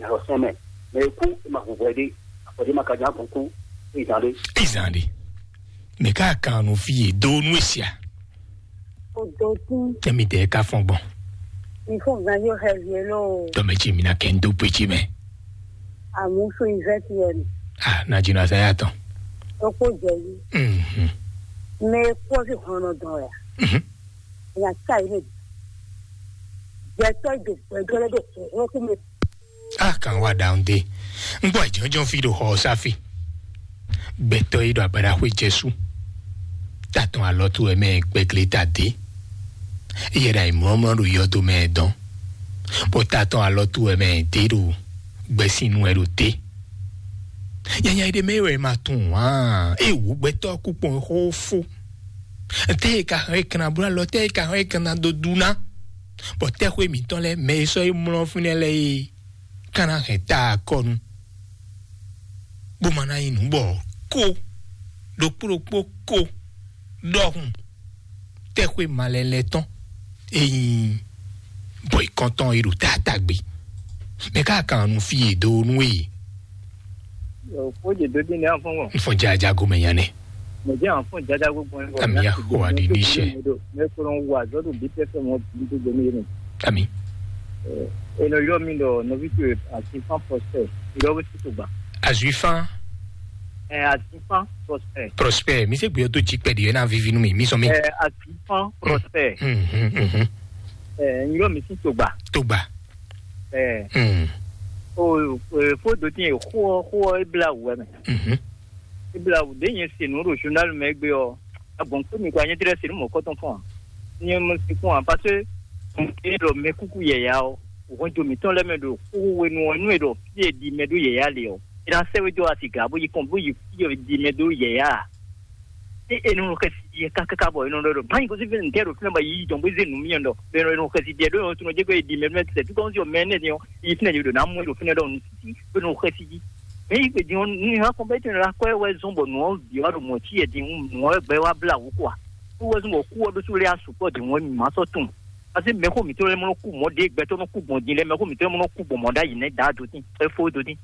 alɔ sɛn mɛ. Mɛ e kú é ma hu hwɛ ɖé, afɔ ɖé ma ka ján gbɔn kú, é yi zán ɖé. Izan ɖi. Mɛ ká kan nu fí e dó nú esia. Odo tún. Tɛmi tɛ ká fɔn gbɔn. Mi fún gan yóò hẹ yé lóo. Tɔmɛ tsi mi na kɛ n dó pé tsi mɛ. Amusu Izɛtiɛli. Ah, na jina saya tɔn. Oko jɛli. Mhm. Me kɔ si hɔnɔ dɔn ya. Mhm. Ya sa yi ne. Jɛtɔ jo gbɛdɔ le do ho ku me. Ah, kan wa down de. N gbɔ jɔnjɔn fi do ho safi. Gbɛtɔ yi do abada hwe Jesu. Tatɔn alɔ tu wɛ mɛ gbɛgle ta de. Yɛ da imlɔmlɔ do yɔdo mɛ dɔn. Bɔ tatɔn alɔ tu wɛ mɛ de do gbɛsinu wɛ do de. Nyanya ɖé mɛ wɛ ma tunwun ǎ. Ée wǔ gbɛtɔ́ kú kpɔn xó fó. Tɛ yi ka hɛn kan na bló alɔ, tɛ yi ka hɛn kan na dó dú ná. Bɔ tɛxwé mǐtɔn lɛ́ɛ mɛ e sɔ́ yi mlɔ́ fínɛ́ lɛ́ɛ é ka ná hɛn ta akɔnu, bó ma ná nyí nǔ bɔ kó ɖokpó ɖokpó kó ɖɔhun tɛxwé malɛlɛ tɔn e nyí bɔ ikɔntɔn e ɖo taatagbe. Mɛ ká kan nu fí e dó nú e. Yo, kó je dó dín ní afɔn wɔ. N fɔ jaja gomɛ nya nɛ. Mo jẹ́ àwọn fún ìjájá gbogbo ẹ̀. Àmì àkó àdìní iṣẹ́. Mẹ́kúrò ń wà lọ́dún bí tẹ́fẹ́ wọn bí gbogbo mi yẹn. Àmì. Ènìyàn yọ mi lọ nọbí tó àti fán pọ̀sẹ̀ ìlọ́wé sí tó gbà. Àzùífán. Ẹ àti fán pọ̀sẹ̀. Prospère, mi se gbìyànjú tó jí pẹ̀lú ẹ̀ náà vivi nú mi, mi sọ mi. Ẹ àti fán pọ̀sẹ̀. Ẹ ń yọ mi sí tó gbà. Tó gbà. Ẹ Hmm. O fódó tí yẹn xó xó ẹ bla wù ẹ mẹ. Mhm. Ẹ bla wù dé yẹn se nù ɖo journal mɛ gbé ɔ. Agbɔn kpé mi kɔ anyɛ tɛlɛ se nù mɔ kɔtɔn fún wa. Nyɛ mo se fún wa parce que e ɖɔ mɛ kúkú yɛya ɔ, òhun jo mǐtɔn lɛ mɛ ɖo xó wenu ɔ nú e ɖɔ fí e ɖi mɛ ɖó yɛya le ɔ, e na sɛ wé dó asi gǎ bó yi kɔn bó yi fí e ɖi mɛ ɖó yɛya. E e nɔ xɛsi ɖi ɛ kákáká bɔ e nɔ ɖɔ ɖɔ báyìí kó sí fɛn ntɛ ɖo fínɛ bɔ yi dɔn bó zé nǔ mì ɔ ɖɔ bɛ e nɔ xɛsi ɖi ɛ ɖó yɔn tún ɔ jẹ́ kó e ɖi mɛ mɛ tɛ tukɔn sí ɔ mɛ nɛ ni ɔ yi fínɛ yě ɖo ná mú e ɖo fínɛ ɖɔ nù títí bó e nɔ xɛsi jí. Mɛ yi gbèdì ɔ ní hã kɔn bɛ tɛn la kɔ ɛ wɛ zɔn bɔ nù ɔ bì wá ɖo mɔ tí yɛ di nù ɔ gbɛ wá bla wú kɔa kó wɛ zɔn bɔ kú ɔ ɖó sú lé asukɔ di ŋɔ ma sɔ tún. Parce que mɛ xó mǐtɔn lɛ mɔ kú mɔ ɖé gbɛtɔ nɔ kú gbɔn din lɛ mɛ xó mǐtɔn lɛ mɔ kú gbɔn mɔ ɖ'ayǐ nɛ da do tín ɛ fó do tín.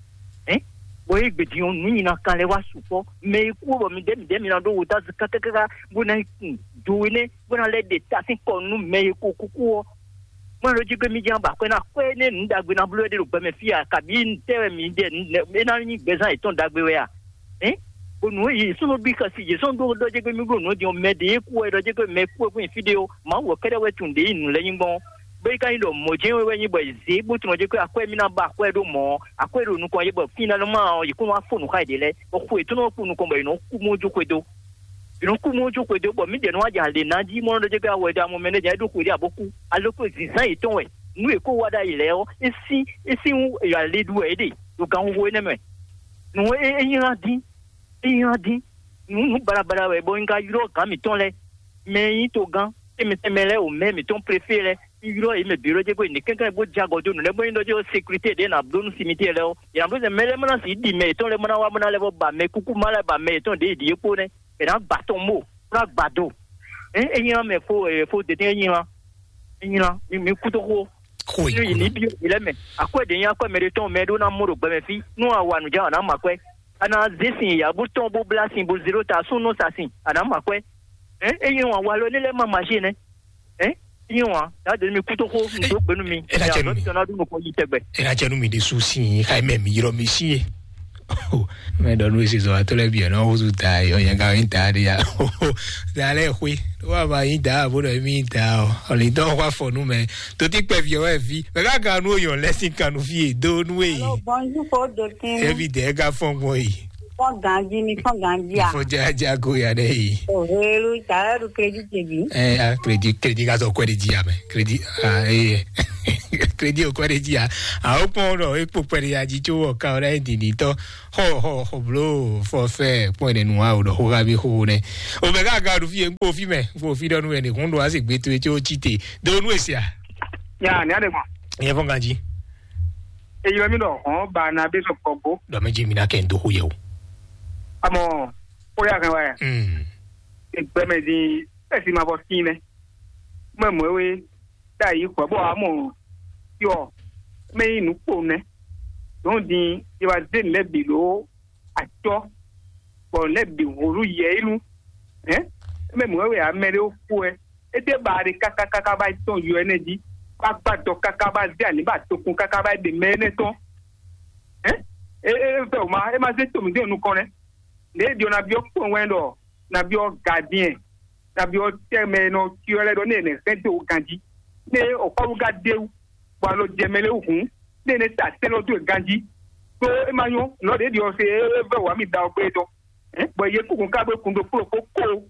Ɛ bɔ yé gbèdì ɔn nǔ nyi na kan lɛ wá sukpɔ́ mɛ e kú bɔ mi dɛ́ mi dɛ́ mi na ɖó wo tá kákákáká bó ná kun do énɛ́ bó ná lɛ́ ɖe ta sín kɔ nú mɛ e ko kúkú ɔ́. Mɔ ɖó jí gbé mi ján ba kwɛ ná kwɛ nɛ nǔ ɖagbe ná bló ɖé ɖo gbɛmɛ fí a kabí tɛ wɛ mi ɖe é ná nyí gbɛzán yětɔn ɖagbe wɛ a? Ɛ bó nǔ yě sɔ́ nɔ bí xɛsi yě sɔ́ nɔ ɖó ɖɔ jẹ́ pé mí bló nǔ din ɔ́ mɛ ɖě kú wɛ ɖɔ jẹ́ pé mɛ kú wɛ kún nyi fí ɖé ɔ́ Mawu wɛ kɛ́ɖɛ́ wɛ tunwun ɖě yi nǔ lɛ́ɛ nyí gbɔn. Bó yi ka nyí ɖɔ mɔ̌ jɛ́n wɛ wɛ nyí bɔ è zě bó tunɔ jɛ kó akwɛ́ mì ná ba akwɛ́ ɖó mɔ ɔ́, akwɛ́ ɖo nukɔn yě bɔ fínalɔmɔ ɔ́ yě kó wá fó nǔ xá yěɖée lɛ́ɛ bɔ xwe yětɔn nɔ kú nukɔn bɔ yě nɔ kú mɔ́ jó xwedó. Yě nɔ kú mɔ́ jó xwedó bɔ mǐdɛɛ nɔ wá jɛ alě ná jí mɔ nɔ ɖɔ jɛ kó awɛ dó amɔ mɛ nɛ́ jɛ é ɖó xwe ɖé abo kú. Alɔ kó zǐnzán yětɔn wɛ nǔ e kó wá ɖ'ayǐ lɛ́ɛ ɔ́, é sín é sín wú è alé ɖu wɛ é ɖe ɖo ganxixo énɛ́ mɛ. Nǔ e é nylá dín é nylá dín nǔ nǔ baɖabaɖa wɛ bɔ un ka ylɔ́ gǎn mǐtɔn lɛ́ɛ mɛ e nyí togán tɛnmɛ tɛnmɛ lɛ́ɛ o mɛ mǐtɔn préfé lɛ́ɛ un ylɔ́ yě mɛ bǐ ɖɔ jɛ bó yi nǐ kɛnklɛ́n bó jɛ agɔ dó nǔ lɛ́ɛ bó nyí ɖɔ jɛ ó sécurité ɖě nǎ bló nú simitiɛ lɛ́ɛ ó yě ná bló sɛ mɛ lɛ́ɛ mɔ ná sixú ɖi mɛ yětɔn lɛ́ɛ mɔ ná wá mɔ ná lɛ́ vɔ ba mɛ kúkú má lɛ́ɛ ba mɛ yětɔn ɖě yi ɖi é kpó nɛ́ è nǎ gba tɔn mó bó ná gba do. Ɛ é nyí mɛ fó ɛ fó dɛdɛ é nyí é nyí mi mi kú tó xó Xo nú yě ní yǐkúnɔ. Bí yě lɛ́ɛ mɛ akwɛ́ ɖě nyí akwɛ́ mɛ ɖé tɔn mɛ ɖó ná mɔ ɖo gbɛmɛ fí nú a wa nǔ jɛ a nǎ mɔ akwɛ́ a nǎ zé sin yǎ bó tɔn bó blá sin bó zé ɖó ta súnnu sa sin a nǎ mɔ akwɛ́. Ɛ é nyí wan walɔ ní lɛ́ɛ má ma zé nɛ́. Ɛ é nyí wan yǎ dé mi kú tó xó mi dó gbe nú mi. Ɛ ná jɛ nú mi. Tɔn ná ɖu nukɔn yi tɛgbɛ. Ɛ ná jɛ nú mi ɖésú sín xá mɛ mi yrɔ mi sín é. Mɛ ɖɔ nú esi zɔ atɔ lɛ bi ɛ nɔ wozu ta yɔ yɛ ga yin ta de ya. Da lɛ xwe wa ma yin ta abo ɖɔ mi yin ta ɔ ɔlidɔ wa fɔ nu mɛ toti kpɛ fi ɔwɛ fi mɛ ka ka nu oyɔ lɛ si kan nu fi do nu e. Alo, bonjour, fo dotin. Ebi dɛ ka fɔn gbɔ yi. Fɔ ganji ni fɔ ganji a. Fɔ jaja ko ya dɛ yi. O helu ta yɛ du crédit ce bi. Ɛ a crédit crédit ka sɔ kɔɛ de ji ya mɛ crédit a eye. Crédit o kɔɛ de ji ya. A o kpɔn ɖɔ e kpo kpɛ de ya ji tso wɔ ka o ɖe didi tɔ. Xɔ xɔ xɔ blo fɔ fɛ kpɔn ɖe nu a o ɖɔ xo xa bi xo nɛ. O mɛ ka ga ɖu fi e kpo fi mɛ kpo fi ɖɔ nu wɛ ne hun ɖo a se gbe to e tso tsi te do nu e sia. Ya ni a de gbɔn. Yɛ fɔ ganji. Eyi lɔ mi ɖɔ hɔn ba na be sɔ kɔ go. Ɖɔ mɛ ji mi na kɛ n do xo yɛ o. Amɔ o ya kan wa ya. Mm. Egbɛmɛ di esi ma bɔ sin nɛ. Mɛ mɔ we da yi kɔ bɔ amɔ yɔ mɛ yi nu kpo nɛ. Dɔn di yi wa de lɛ bi lo atɔ bɔ lɛ bi holu yɛ yi nu. Ɛ mɛ mɔ we amɛ de ko ɛ. Ede ba de kaka kaka ba tɔn yɔ ɛnɛ di. Ba gba dɔ kaka ba de ani ba tokun kaka ba de mɛ ɛnɛ tɔn. Ɛ é é vɛ wǔ ma é ma zé to mǐ dó nukɔn nɛ́. Nɛ̌ è ɖi ɔ́ ná byɔ́ kpɔ́n wɛn ɖɔ ná byɔ́ gadiɛn, ná byɔ́ tɛ́ mɛ e nɔ cyɔ lɛ́ɛ ɖɔ nɛ́ è nɛ̌ sɛ́n dó ganjí. Nɛ́ ɔ́ kɔ́ɖu ka ɖ'é wú, bɔ alɔ jɛ mɛ lɛ́ɛ wú hǔn, nɛ́ è nɛ́ ta sɛ́n lɔ dó e ganjí. Ɖó é ma nyɔ́, nɔ̌ ɖě ɖi ɔ́ se é vɛ wǎ mi da ɔ́ gbé dɔn. Bɔ yě kúkú ka gbé kun ɖokpó ɖokpó kó.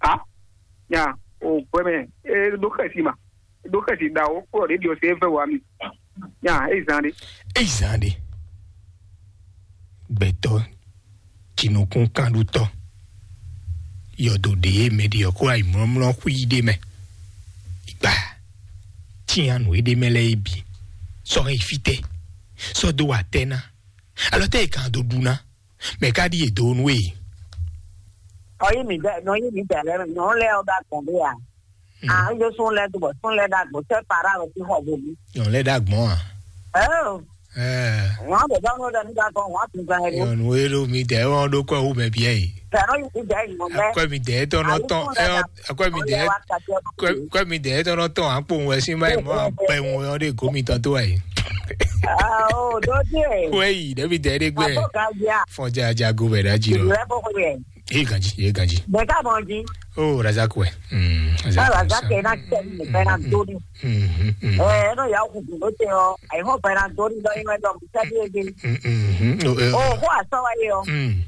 A nya o gbɛmɛ e ɖó xɛsi ma, ɖó xɛsi ɖawo kplɔ ɖě ɖi ɔsɛ vɛ wá mi. Nya e zan ɖe. Eyi zan ɖe. Gbɛtɔ́, jinukúnkanɖutɔ́, yɔdo ɖě e mɛ ɖi ɔ́ kó ayi mlɔ́mlɔ́ xwí ɖé mɛ. Igba cyanu e ɖ'é mɛ lɛ́ɛ é bǐ, sɔ́ hɛn yi fítɛ́, sɔ́ dó wa tɛ́ ná, alɔ tɛ́ e kan dó ɖu ná, mɛ ka ɖíe dó nú we? Ɔyí mi dɛ nɔ yí mi dɛ lɛ nɔ lɛ ɔ ba gbɔn bí a. Hmm. Ah, yó sún lɛ dubɔ sún lɛ dagbo tɛ para lɔ ti xɔ bobu. Nyɔnu lɛ dá gbɔn a? Ɛɛ. Ɛɛ. Wọn bɛ dɔn lɛ mi dagbo wọn tun gan yɛ. Nyɔnu ero mi dɛ wọn ɖó kɔ wu mɛ biɛ yi. Tɛ nɔ yí mi dɛ yi mɔ bɛ. Akɔ mi dɛ tɔn nɔ tɔn ɛ akɔ mi dɛ kɔ mi dɛ tɔn nɔ tɔn akpo wɛ sí ma yi mɔ akpɛ ŋu yɔ ɖe gomi tɔn tó wa yi. Ah, oh, dodie. Wɛ yi ɖe mi dɛ ɖe gbɛ. Abo ka bia. Fɔn ja ja go bɛ ɖa ji lɔ. Ìlú ẹ bọ kọ yẹ. Ye ganji, ye ganji. Bɛ ka bɔ ji. Oh, Razak wɛ. Mm, Razak. Razak kɛ na kɛ ni bɛ na doni. Mm, mm, mm. Ɛ, no ya ku do te o. Ai ho bɛ na doni do yin do mi sɛ bi de. Mm, mm, mm. Oh, eh, oh, oh. Ko asɔ wa ye o. Mm.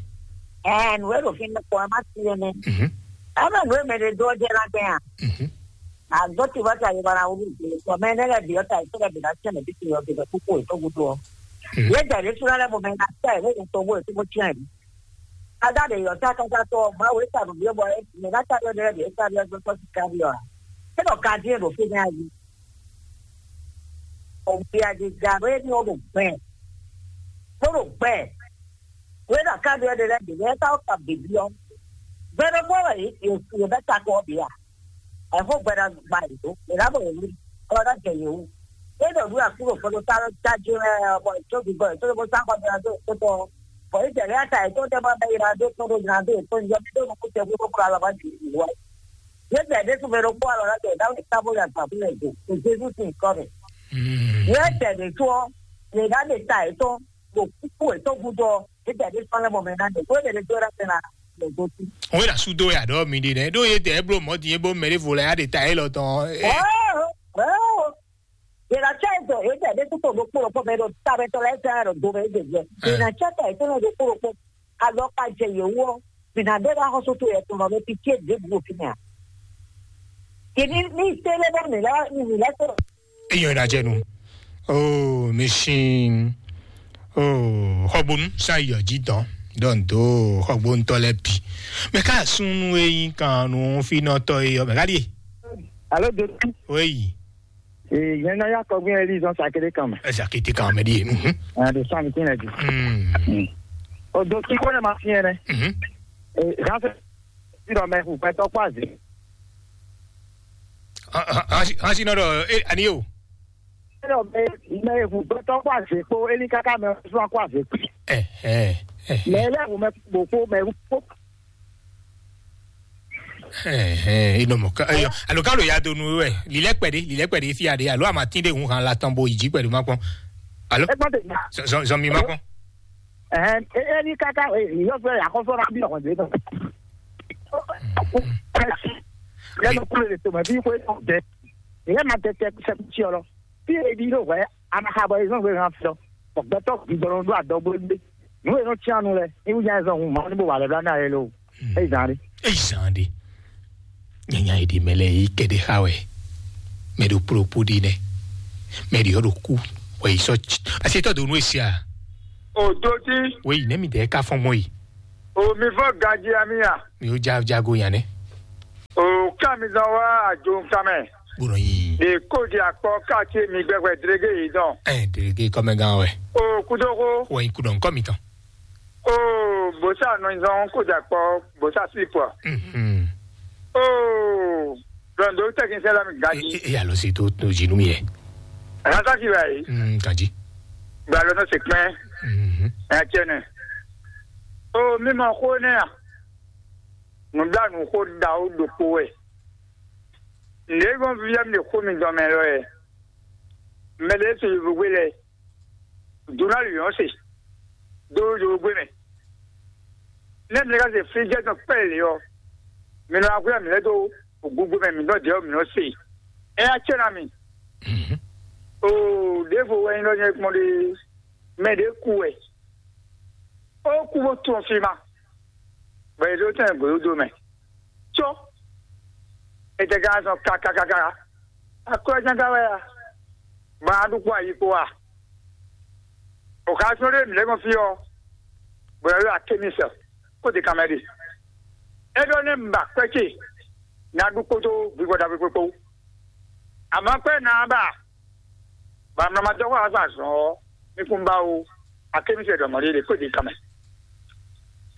Ɛ, nu e do fin ko ma si ne. Mm. Ɛ, ma nu e mɛ de do je la kɛ ya. Mm. A do ti ba ta ye ba na wu. Ko mɛ ne le bi o ta, so le bi na se ne bi ti o bi ko ko to gu do. Mm. Ye da le sura le mo mɛ na ta, wo to bo to bo tiɛ. Ada ɖe yɔ ta kaka tɔ Mawu e sa nǔ byɔ́ bɔ é mɛ ná ta ɖɔ ɖe ɖe é sa byɔ́ gbɛtɔ́ sika byɔ́ a? É ɖɔ ka dín e ɖo fínɛ́ a jí? Ɔbia ɖe ga ɖo éní ɔ́ ɖo gbɛ, bó ɖo gbɛ. Wé ɖo aká byɔ́ ɖe lɛ́ɛ ɖě lɛ́ɛ ká wó ka běbí ɔ́. Gbɛ ɖokpó wɛ yě yě bɛ́ ta kɔ ɔ́ bǐ a? Ɛhɔn gbɛɖagba yě dó, yě ná mɔ yě wlí, bɔ é ná jɛ yě wú. É ɖɔ nǔ e Aklúnɔ gbɛɖotá ɔ́ jájé lɛ́ɛ ɔ́, bɔ yě có vǐvɔ yětɔn bó sá xɔ jlá dó yětɔn tɔn ɔ́, bɔ Izlayɛ́li ata yětɔn tɛ́ bɔ bɛ́ ylá dó tɔn ɖó jlá dó yětɔn yɔ mì ɖó nukún tɛ xwé bó kplá alɔ bá jǐ wú wá. Yě jɛ ɖésú mɛ ɖokpó alɔ ná jɛ Dawúdi tábó yě agbǎkún lɛ do, ɖo Jezu sín nyǐkɔ mɛ. Yě jɛ ɖě tó ɔ́, yě ná ɖe ta yětɔn ɖo kúkú yětɔn gúdo ɔ́, yě jɛ ɖésú lɛ́ mɔ mɛ ná ɖe, bó ɖe ɖě dó ɖa tɛn ná ɖe gosín. Wé ɖa súdó ya ɖɔ mi ɖi nɛ ɖó ye tɛ eblo mɔ din ebo mɛ ɖe vo lɛ ya ɖe ta yɛ lɔ tɔn. Yě ná cɛ dɔ yě jɛ ɖé kútó ɖokpó ɖokpó mɛ ɖo ta mɛ tɔn lɛ́ɛ zán ɖo do mɛ yě jɛ jɛ. Yě ná cɛ ta yě tɔn ɖokpó ɖokpó alɔ ka jɛ yě wú ɔ́, mǐ ná ɖe ɖo axɔ́sú towe yɛtɔn lɔ mɛ pitié ɖěbǔ ɖo fínɛ́ ǎ. Yě ní ní télé bɔ mǐ lɛ́ mǐ lɛ́ tɔn. Eyɔn ina jɛ nu. Oh, mi sin. Oh, xɔgbonu san yɔ ji dɔn dɔn do xɔgbonutɔ lɛ bi. Mɛ ka sunu eyin kan nu finɔtɔ eyɔ mɛ ka die. Alo do. Oui. Ee, yẹn náà yà kọgbìn ẹ lì zọn sàkéde kan mẹ. Ẹ sàkéde kan mẹ di. Mhm. Ẹ de sàn kí ẹ di. Mm. O do kí kó ne ma fi yẹn nẹ. Mhm. Ee, zan fẹ ti dọ mẹ kú pẹ tọ kó azé. Hansi nɔ dɔ ani o. Ẹ dọ mẹ mẹ kú pẹ tọ kó azé kó eli kaka mẹ sún kó azé kú. Ẹ ẹ ẹ. Mẹ ẹ lẹ wò mẹ kó mẹ kó. Alo ka lo ya do nu wɛ lilɛ kpɛɖe lilɛ kpɛɖe fi aɖe alo a ma tin ɖe hun han la tɔn bo yi dzi kpɛɖe ma kpɔn. Alo zɔn mi ma kpɔn. Ɛhɛn, e e ni kaka e yɔ fɛ akɔfɔ na bi ɔkɔ de tɔ. Ɛsi lẹnu kúlò lè tòmɔ bí kò e tɔ dɛ. Ìyẹn ma tẹ tẹ sẹkútsì ọlọ. Bí ebi ló wẹ anahabọ ezɔn gbé hàn fẹ. Ọgbẹtọ gbígbọrọ ló adọgbó gbé. Nú e nɔ tsianu lɛ, ní wúnya ezɔn hun mọ ní bó wà lẹ bla ní ayé ló. Eyi zan ɖe. Eyi zan ɖe. Nyanya yi ɖi mɛ lɛ yi kɛ ɖe xa wɛ. Mɛ ɖo kplokpo ɖi nɛ. Mɛ ɖi yɔ ɖo ku. Wɛ yi sɔ tsi. Asi tɔ do nu esi a. O do ti. Wɛ yi nɛ mi dɛ ka fɔn mɔ yi. O mi fɔ gaji ami a. Mi o ja jago yan nɛ. O ká mi zan wá àjò nǹkan mɛ. Gbɔdɔ yi. Ɖe kó di akpɔ káàkiri mi gbẹgbẹ dérégé yìí dán. Ɛ dérégé kɔmɛgán wɛ. O kúdókó. Wɛ yi kudɔ nkɔ mi tán. Oo, bó sá nɔ zɔn kó jà kpɔ, bó sá sí pɔ. Mhm. Oo, dɔn do tɛkinisɛn la mi gaji. E e alo si to to zi nu mi yɛ. Rasa si wa yi. Mm, gaji. Gba lɔ nɔ se kpɛn. Mhm. Ɛ tiɛ nɛ. Oo, mi ma xo nɛ a. Nubla nu xo da o ɖokpo wɛ. Nde gbɔn via mi de xo mi dɔn mɛ lɔ yɛ. Mɛ de so yi vugbe lɛ. Duna luyɔn se. dó yovógbé mɛ. Nɛ́ mi lɛ́ ka se flíjɛ́ tɔn kpɛ́ lě ɔ́, mi nɔ wá hwlɛ́n mǐ lɛ́ dó gúgbó mɛ mǐtɔn ɖě ɔ́, mǐ nɔ se. É ná cɛ ná mi. Oo, ɖěvo wɛ nyí ɖɔ nyɛ kpɔ́n ɖe, mɛ ɖě kú wɛ. Ó kú bó tún fí ma, bɔ è ɖó tɛn gǒdódó mɛ. Có, è tɛ ka zɔn kakakaka, akwɛ́ ján ka wɛ a? Ba a ɖu kpó ayi kpó a? O ka sɔ́ ɖé mǐ lɛ́ gbɔn fí ɔ́, bɔ è ɖo akémisɛ kó de kanmɛ ɖe. É ɖɔ nɛ́ un ba kwɛ́ ce ná ɖu kpódó vivɔ ɖagbe kpókpó. Amɔ̌ kwɛ́ ná ba, bɔ amlɔ ma dɔ́ xó azɔn azɔn ɔ́, mi kún ba ó, akémisɛ ɖɔ mɔ̌ ɖé ɖe kó de kanmɛ.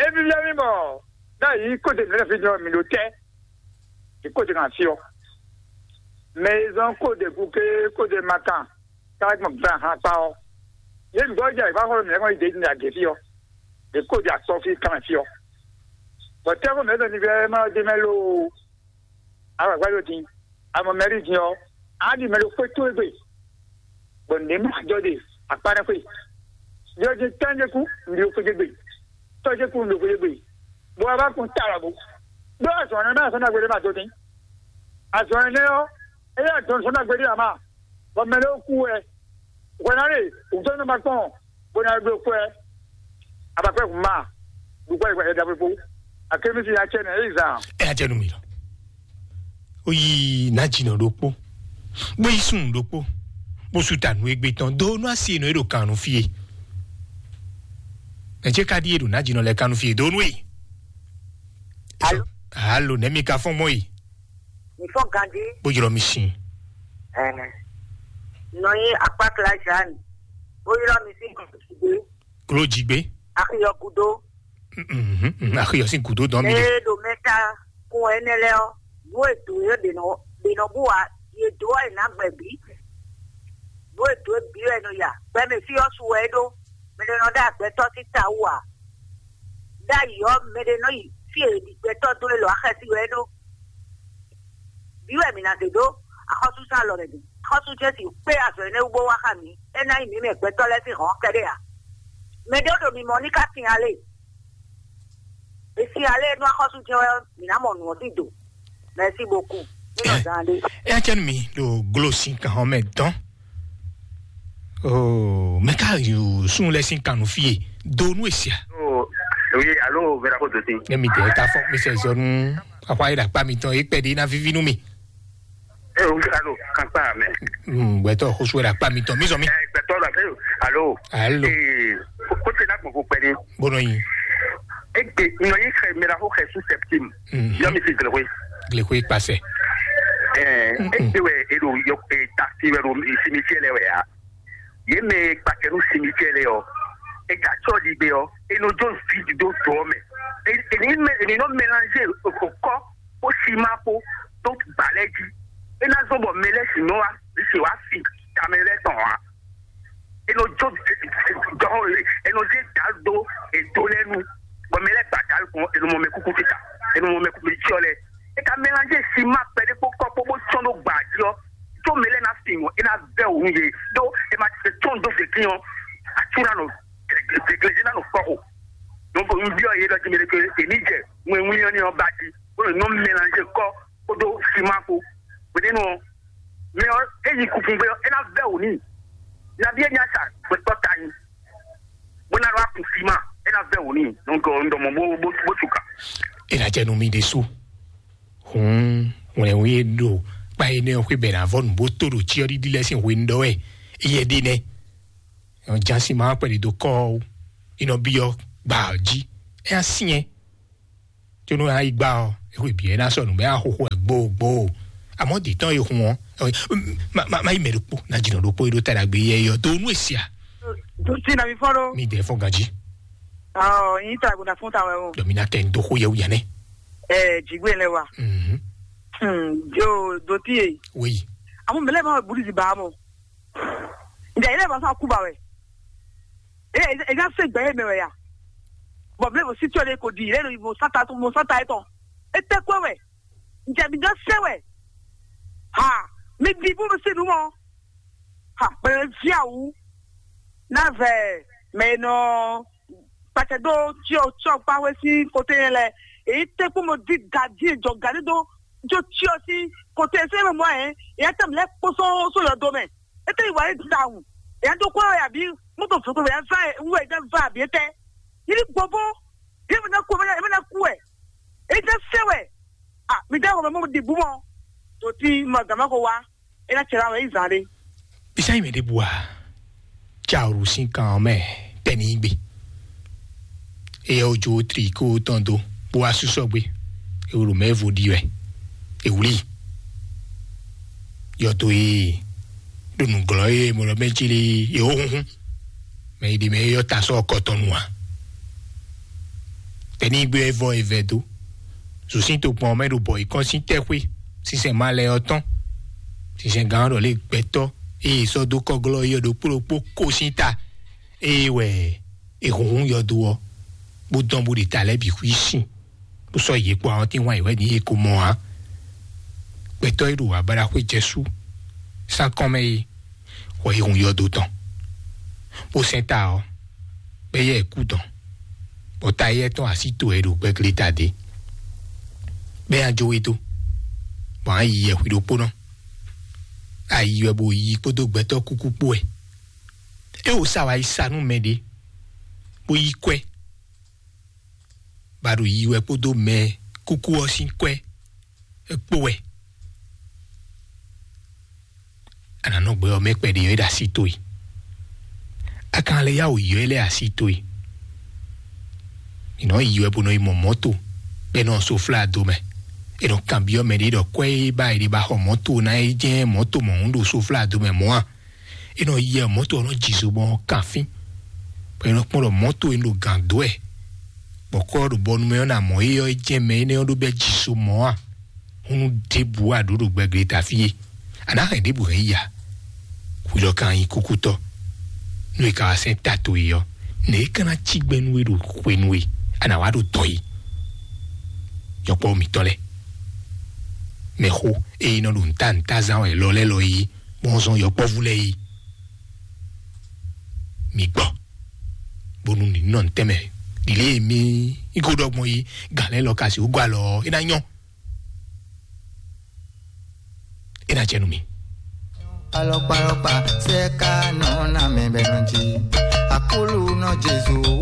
É vívɛ́ mì bɔ ɖ'ayǐ kó de mǐ lɛ́ fí din ɔ́, mǐ ɖo tɛ́, mǐ kó de kan fí ɔ́. Mɛ e zɔ́n kó de gúké kó de makan ká gbɔn gbɛn ahan kpá ɔ́, yě nǔgbó jɛ ayǐ xɔ́xɔ́ mǐ lɛ́ɛ kɔn yi ɖě din agě fí ɔ́, ɖě kó ɖi akpɔ fí kanmɛ fí ɔ́. Bɔ tɛ́xɔ mǐ ɖɔ nivɛ́ ma ɖ'é mɛ loo, agbǎgbá ɖo din, amɔ mɛ ɖi din ɔ́, á ɖi mɛ ɖo xwé towe gbe, bɔ nǔɖé ma jɔ ɖe akpá nɛ́ xwé. Jɔ din tán jɛ kú, un ɖi xwé gbe, tɔ́ jɛ kú, un ɖo xwé gbe, bɔ a bá kun ta lɔ bó. Ɖó azɔ̌ nɛ́ mɛ azɔ̌ nagbe ɖé ma dó dín. Azɔ̌ énɛ́ ɔ́, é yɛ dɔn sɔ́ nagbe ɖé ǎ ma, bɔ mɛ ɖé kú wɛ. Hwɛ ná ɖe wǔtɔ́ nɔ ma kpɔn, bó ná ɖó kwɛ́. Abakwɛ́ hun ma, ɖu kwɛ́ yi kwɛ́ ɖaxó kpó. Akémísí ná cɛ nɛ, é yi zan. Ɛ adze nu mi lɔ. Ó yi ná dzi nɔ ɖokpó, bó yi sun ɖokpó, bó su ta nǔ égbé tɔn dó nú asi e nɔ é ɖo kan nú fí e. Ɛ jẹ́ ká ɖíe ɖo ná dzi nɔ lɛ kan nú fí e dó nú e. Alo. Alo, nɛ̌ mi ka fɔ́n gbɔn yi? Mi fɔ́n ganjí. Bó ylɔ́ mi sin. Ɛɛ, nɔ nyi akpákla Jeanne. Bó ylɔ́ mi sín gɔ̌n. Gló jí gbé. Axiyɔ gúdo. Mhm, mhm, axiyɔ sín gúdo dɔn mi ɖe. Ee, ɖo mɛta kun ɛnɛ lɛ ɔ, nú ètò yɛ ɖe nɔ ɖe nɔ bú wa, yě dó ɛ nǎ gbɛ bǐ. Nú ètò yɛ bǐ wɛ nɔ ya, gbɛmɛ fí ɔ́ su wɛ é ɖó. Mɛ ɖé nɔ ɖó agbɛtɔ́ sín ta wú ǎ. Ɖ'ayǐ ɔ́, mɛ ɖé nɔ yi fí e è ɖi gbɛtɔ́ dó élɔ́ ǎ, xɛsi wɛ é ɖó. Bǐ wɛ mǐ ná zě ɖó axɔ́súzán alɔ mɛ din. Axɔ́sú Jezu kpé azɔ̌ énɛ́ wú bó wá xá mǐ. É ná nyí mǐ mɛ gbɛtɔ́ lɛ́ɛ sín hɔ̌n kɛ́ɖɛ́ ǎ. Mɛ ɖé ɖo mimɔ ní ka sin alé. È sin alé nú axɔ́sú jɛ́n wɛ ɔ́, mǐ ná mɔ nǔ ɔ́ sín do. Mɛ̌si boku. Ní nɔ zán ɖé. Ɛ cɛ́nú mi ɖo glo sin kan hɔn mɛ dɔn. Oo, mɛ ka yi sun lɛ sin kan nú fie do nú esia. Oh, oui, allô, Vera Kototin. Ne mi de ka fɔ mi sɛ zɔnu akwa yi ɖakpa mi tɔn e kpɛ ɖi na vivi nú mi. Eh, oui, allô, kan pa mɛ. Hmm, gbɛtɔ xosu ɖakpa mi tɔn mi zɔ mi. Eh, gbɛtɔ la, eh, allô. Allô. Eh, ko te na gbɔn ko kpɛ ni. Bono yi. Egbe nɔ yi xɛ mɛ la xo xɛ su septime. Mhm. Yɔ mi si glexwe. Glexwe kpasɛ. Eh, mm, mm. Egbe wɛ e ɖo yɔ e taxi wɛ ɖo simitiɛ lɛ wɛ ya. Ye mɛ kpakɛ nu simitiɛ lɛ ɔ, e ka tsɔ ɖi gbe ɔ, e nɔ jó vidi dó dɔ mɛ. E e ni mɛ e ni nɔ mélanger okɔ kó sima kó dó gbalɛ jí. E na zɔn bɔ mɛ lɛ si nɔ wa si wa fi tamɛ lɛ tɔn wa. E nɔ jó dɔn e nɔ zé dal dó edo lɛ nu. Bɔ mɛ lɛ gba dal kɔn e nɔ mɔ mɛ kuku tita, e nɔ mɔ mɛ kuku tsyɔ lɛ. E ka mélanger sima kpɛɖé kpó kɔ kpó bó tsɔn dó gba jí ɔ. Tó mɛ lɛ na fi ŋɔ, e na bɛ wò nu ye. Ɖó e ma tɔn dó fèkí ɔ, atsú na nɔ gleglezé na nɔ kpɔ o. Donc n biɔ ye ɖɔ jí mi ɖe ke èmi jɛ ŋwɛnwin ɔ́ ní ɔ́ ba jí, bó nɔ mélanger kɔ kpódó sima kpó. Gbɛdénu ɔ, mɛ ɔ, e yi kukungbe ɔ, e na bɛ wò ní. Nabi e nya sa gbɛtɔ ta nyi, bó na ɖo akun sima, e na bɛ wò ní. Donc n dɔ mɔ bó bó bó tuka. E na jɛ nu mi ɖe su. Hǔn hwlɛ̌nwí e ɖo kpa énɛ́ ɔ́ xwé bɛ̌ ná vɔ́ nǔ bó tó ɖo cyɔ́ɖiɖi lɛ́ɛ sín hwenu ɖɔ wɛ éyɛ́ ɖe nɛ́. Jǎnsin ma kpɛɖi dó kɔ́ ɔ́, é nɔ byɔ́ gbǎ ɔ́ jí. É ná syɛ́n, có nú é ná yi gbá ɔ́, é xwé bǐ é ná sɔ́ nǔ bɔ é ná xóxó wɛ gbóogbóo. Amɔ̌ dǐ tɔn e hun ɔ́, má má má yi mɛ ɖokpó, ná jǐnɔ ɖokpó e ɖó ta ɖagbe yɛ yɔ dó nú e sia. Dutsi na mi fɔ́n ɖó. Mi dɛ fɔ́n ganjí. Ɔ, yín ta gbọdọ fún tàwọn ẹ̀wọ̀n. Dɔmina kɛ n dó xó yẹ wúyà nɛ. Ɛ, jìgbé lẹ wa. Mhm. Hmm, jo, dòtí yẹ. Oui. Àwọn mẹlẹ máa burú di bàá mọ. Ǹjẹ́ ilé ìbátan kú bá wẹ̀? Ẹ ẹ ẹ ẹ ṣe gbẹ̀yìn mi wẹ̀ yá. Bọ̀ bí mo sì tí o lè kò di ilé ìbò sáta tó mo sáta ẹ̀ tán. Ẹ tẹ́ kú ẹ wẹ̀. Ǹjẹ́ mi dán ṣé wẹ̀? Ha, mi di bó mi sì nú mọ́. Ha, pẹ̀lú fíàwù. Náà vẹ̀ mẹ́nà. Sɛ ɖó tsyɔ tsyɔ kpáwé sín kote yẹn lɛ. Èyí tɛ kpó mo dí gadi jɔ gadi ɖó jó tsyɔ sín kote sɛ mɛ mɔ yẹn. Èyí tɛ mi lɛ kpósó só yɔ do mɛ. Ete yi wa yi da wu. Èyí tó kó yà bí mọ́tò fòkò yà va wú ẹ̀ dá va àbí tẹ́. Yìí gbogbo yìí mi ná kú ẹ̀ mi ná kú ẹ̀. Èyí tẹ́ sẹ́ wẹ̀. À mi dá wọ̀ mọ́ di bú mọ́. Tòtí mọ̀ gàmá ko wá. Ena cɛ la wɛ yi zan ɖe. Bisa yi mɛ ɖe bua. Tsa oɖu sín kan ɔ́ mɛ tɛ́ ní gbe. Eyɛ ojo triko tɔn do bó wá súsɔ gbé. Ewolo mɛ vo ɖi wɛ. Ewuli. Yɔdo e ɖo nǔglɔ́ e mo lɔ mɛ jí lé e ó hunhun. Mɛ yi ɖi mɛ yɔ ta sɔ kɔtɔnu a. Tɛ́ ní gbe vɔ evɛ do. Zǔsín tokpɔn mɛ ɖo bɔ yi kɔn sín tɛ́xwé. Sísɛn ma lɛ ɔ́ tɔn. Sísɛn gán ɖɔ lé gbɛtɔ́ eye sɔ́ dó kɔglɔ́ yɔ ɖokpó ɖokpó kó sín ta. Eye wɛ è hunhun yɔdo ɔ́, bó dɔn bó ɖi ta lɛ́ɛ bǐ xwí sin, bó sɔ́ yě kpó awɔntín wán yě wɛ ní yě ko mɔ ǎ. Gbɛtɔ́ e ɖo abaɖaxwé jɛ sú sánkɔn mɛ é, wɔ è hun yɔdo tɔn, bó sɛn ta ɔ́, bɔ yɛ kú tɔn, bɔ ta éyɛ́ tɔn así to wɛ ɖo gbɛgleta ɖé, bɔ é ná jó we dó, bɔ á yi yɛ hwi ɖokpónɔ. Ayi wɛ bó yi kpódó gbɛtɔ́ kúkú kpó wɛ. É wǒ sa wá yi sa nú mɛ ɖé, bó yí kwɛ́, bá ɖo yi wɛ kpódó mɛ kúkú ɔ́ sín kwɛ́ é kpó wɛ. A nǎ nɔ gbɛ ɔ́ mɛ kpɛɖé ɔ́ é ɖo así towe. A ka lɛ́ yá wǒ yi ɔ́ é lɛ́ así towe. È nɔ yi wɛ bó nɔ yi mɔ mɔ̌to, bɔ è nɔ soflá do mɛ. È nɔ kanbyɔ́ mɛ ɖé ɖɔ kwɛ́ e ba è ɖe ba xɔ mɔ̌to ná é jɛ́n mɔ̌to mɔ̌hun ɖo soflá do mɛ mɔ̌ a? È nɔ yɛ mɔ̌to ɔ́ nɔ ji zo bɔ ɔ́ kan fín, bɔ è nɔ kpɔ́n ɖɔ mɔ̌to e un ɖo gǎn dó wɛ, bɔ kɔ́ ɖo bɔnu mɛ ɔ́ ná mɔ é ɔ́, é jɛ́n mɛ énɛ́ ɔ́ ɖó bɛ́ ji zo mɔ̌ a? Húnú ɖěbǔ a ɖǒ ɖo gbɛgleta fí é? A nǎ hɛn ɖěbǔ hɛn yi a? Hwi lɔ ka nyí kúkútɔ́, nú è ka wá sɛ́n ta towe ɔ́, nɛ̌ é ka ná cí gbɛ́ nú we ɖo hwenu e a nǎ wá ɖo dɔ̌n é? Yɔkpɔ́ mǐtɔn lɛ́ɛ, mɛxó e nɔ ɖo nǔta nǔta zán wɛ lɔ lɛ́ɛ lɔ é, bɔn zɔn yɔkpɔ́vú lɛ́ɛ é. Mi gbɔ, bónú ní nɔ ntɛ́nmɛ ɖi lě e mi yi ko ɖɔ gbɔn yi gǎn lɛ́ɛ lɔ ka sixú gɔ́ alɔ ɔ́, é ná nyɔ́, é ná jɛ nú mi. Alɔkpalɔkpa sɛ ka nɔ na mɛ bɛ nɔ ji. Akulu nɔ Jesu.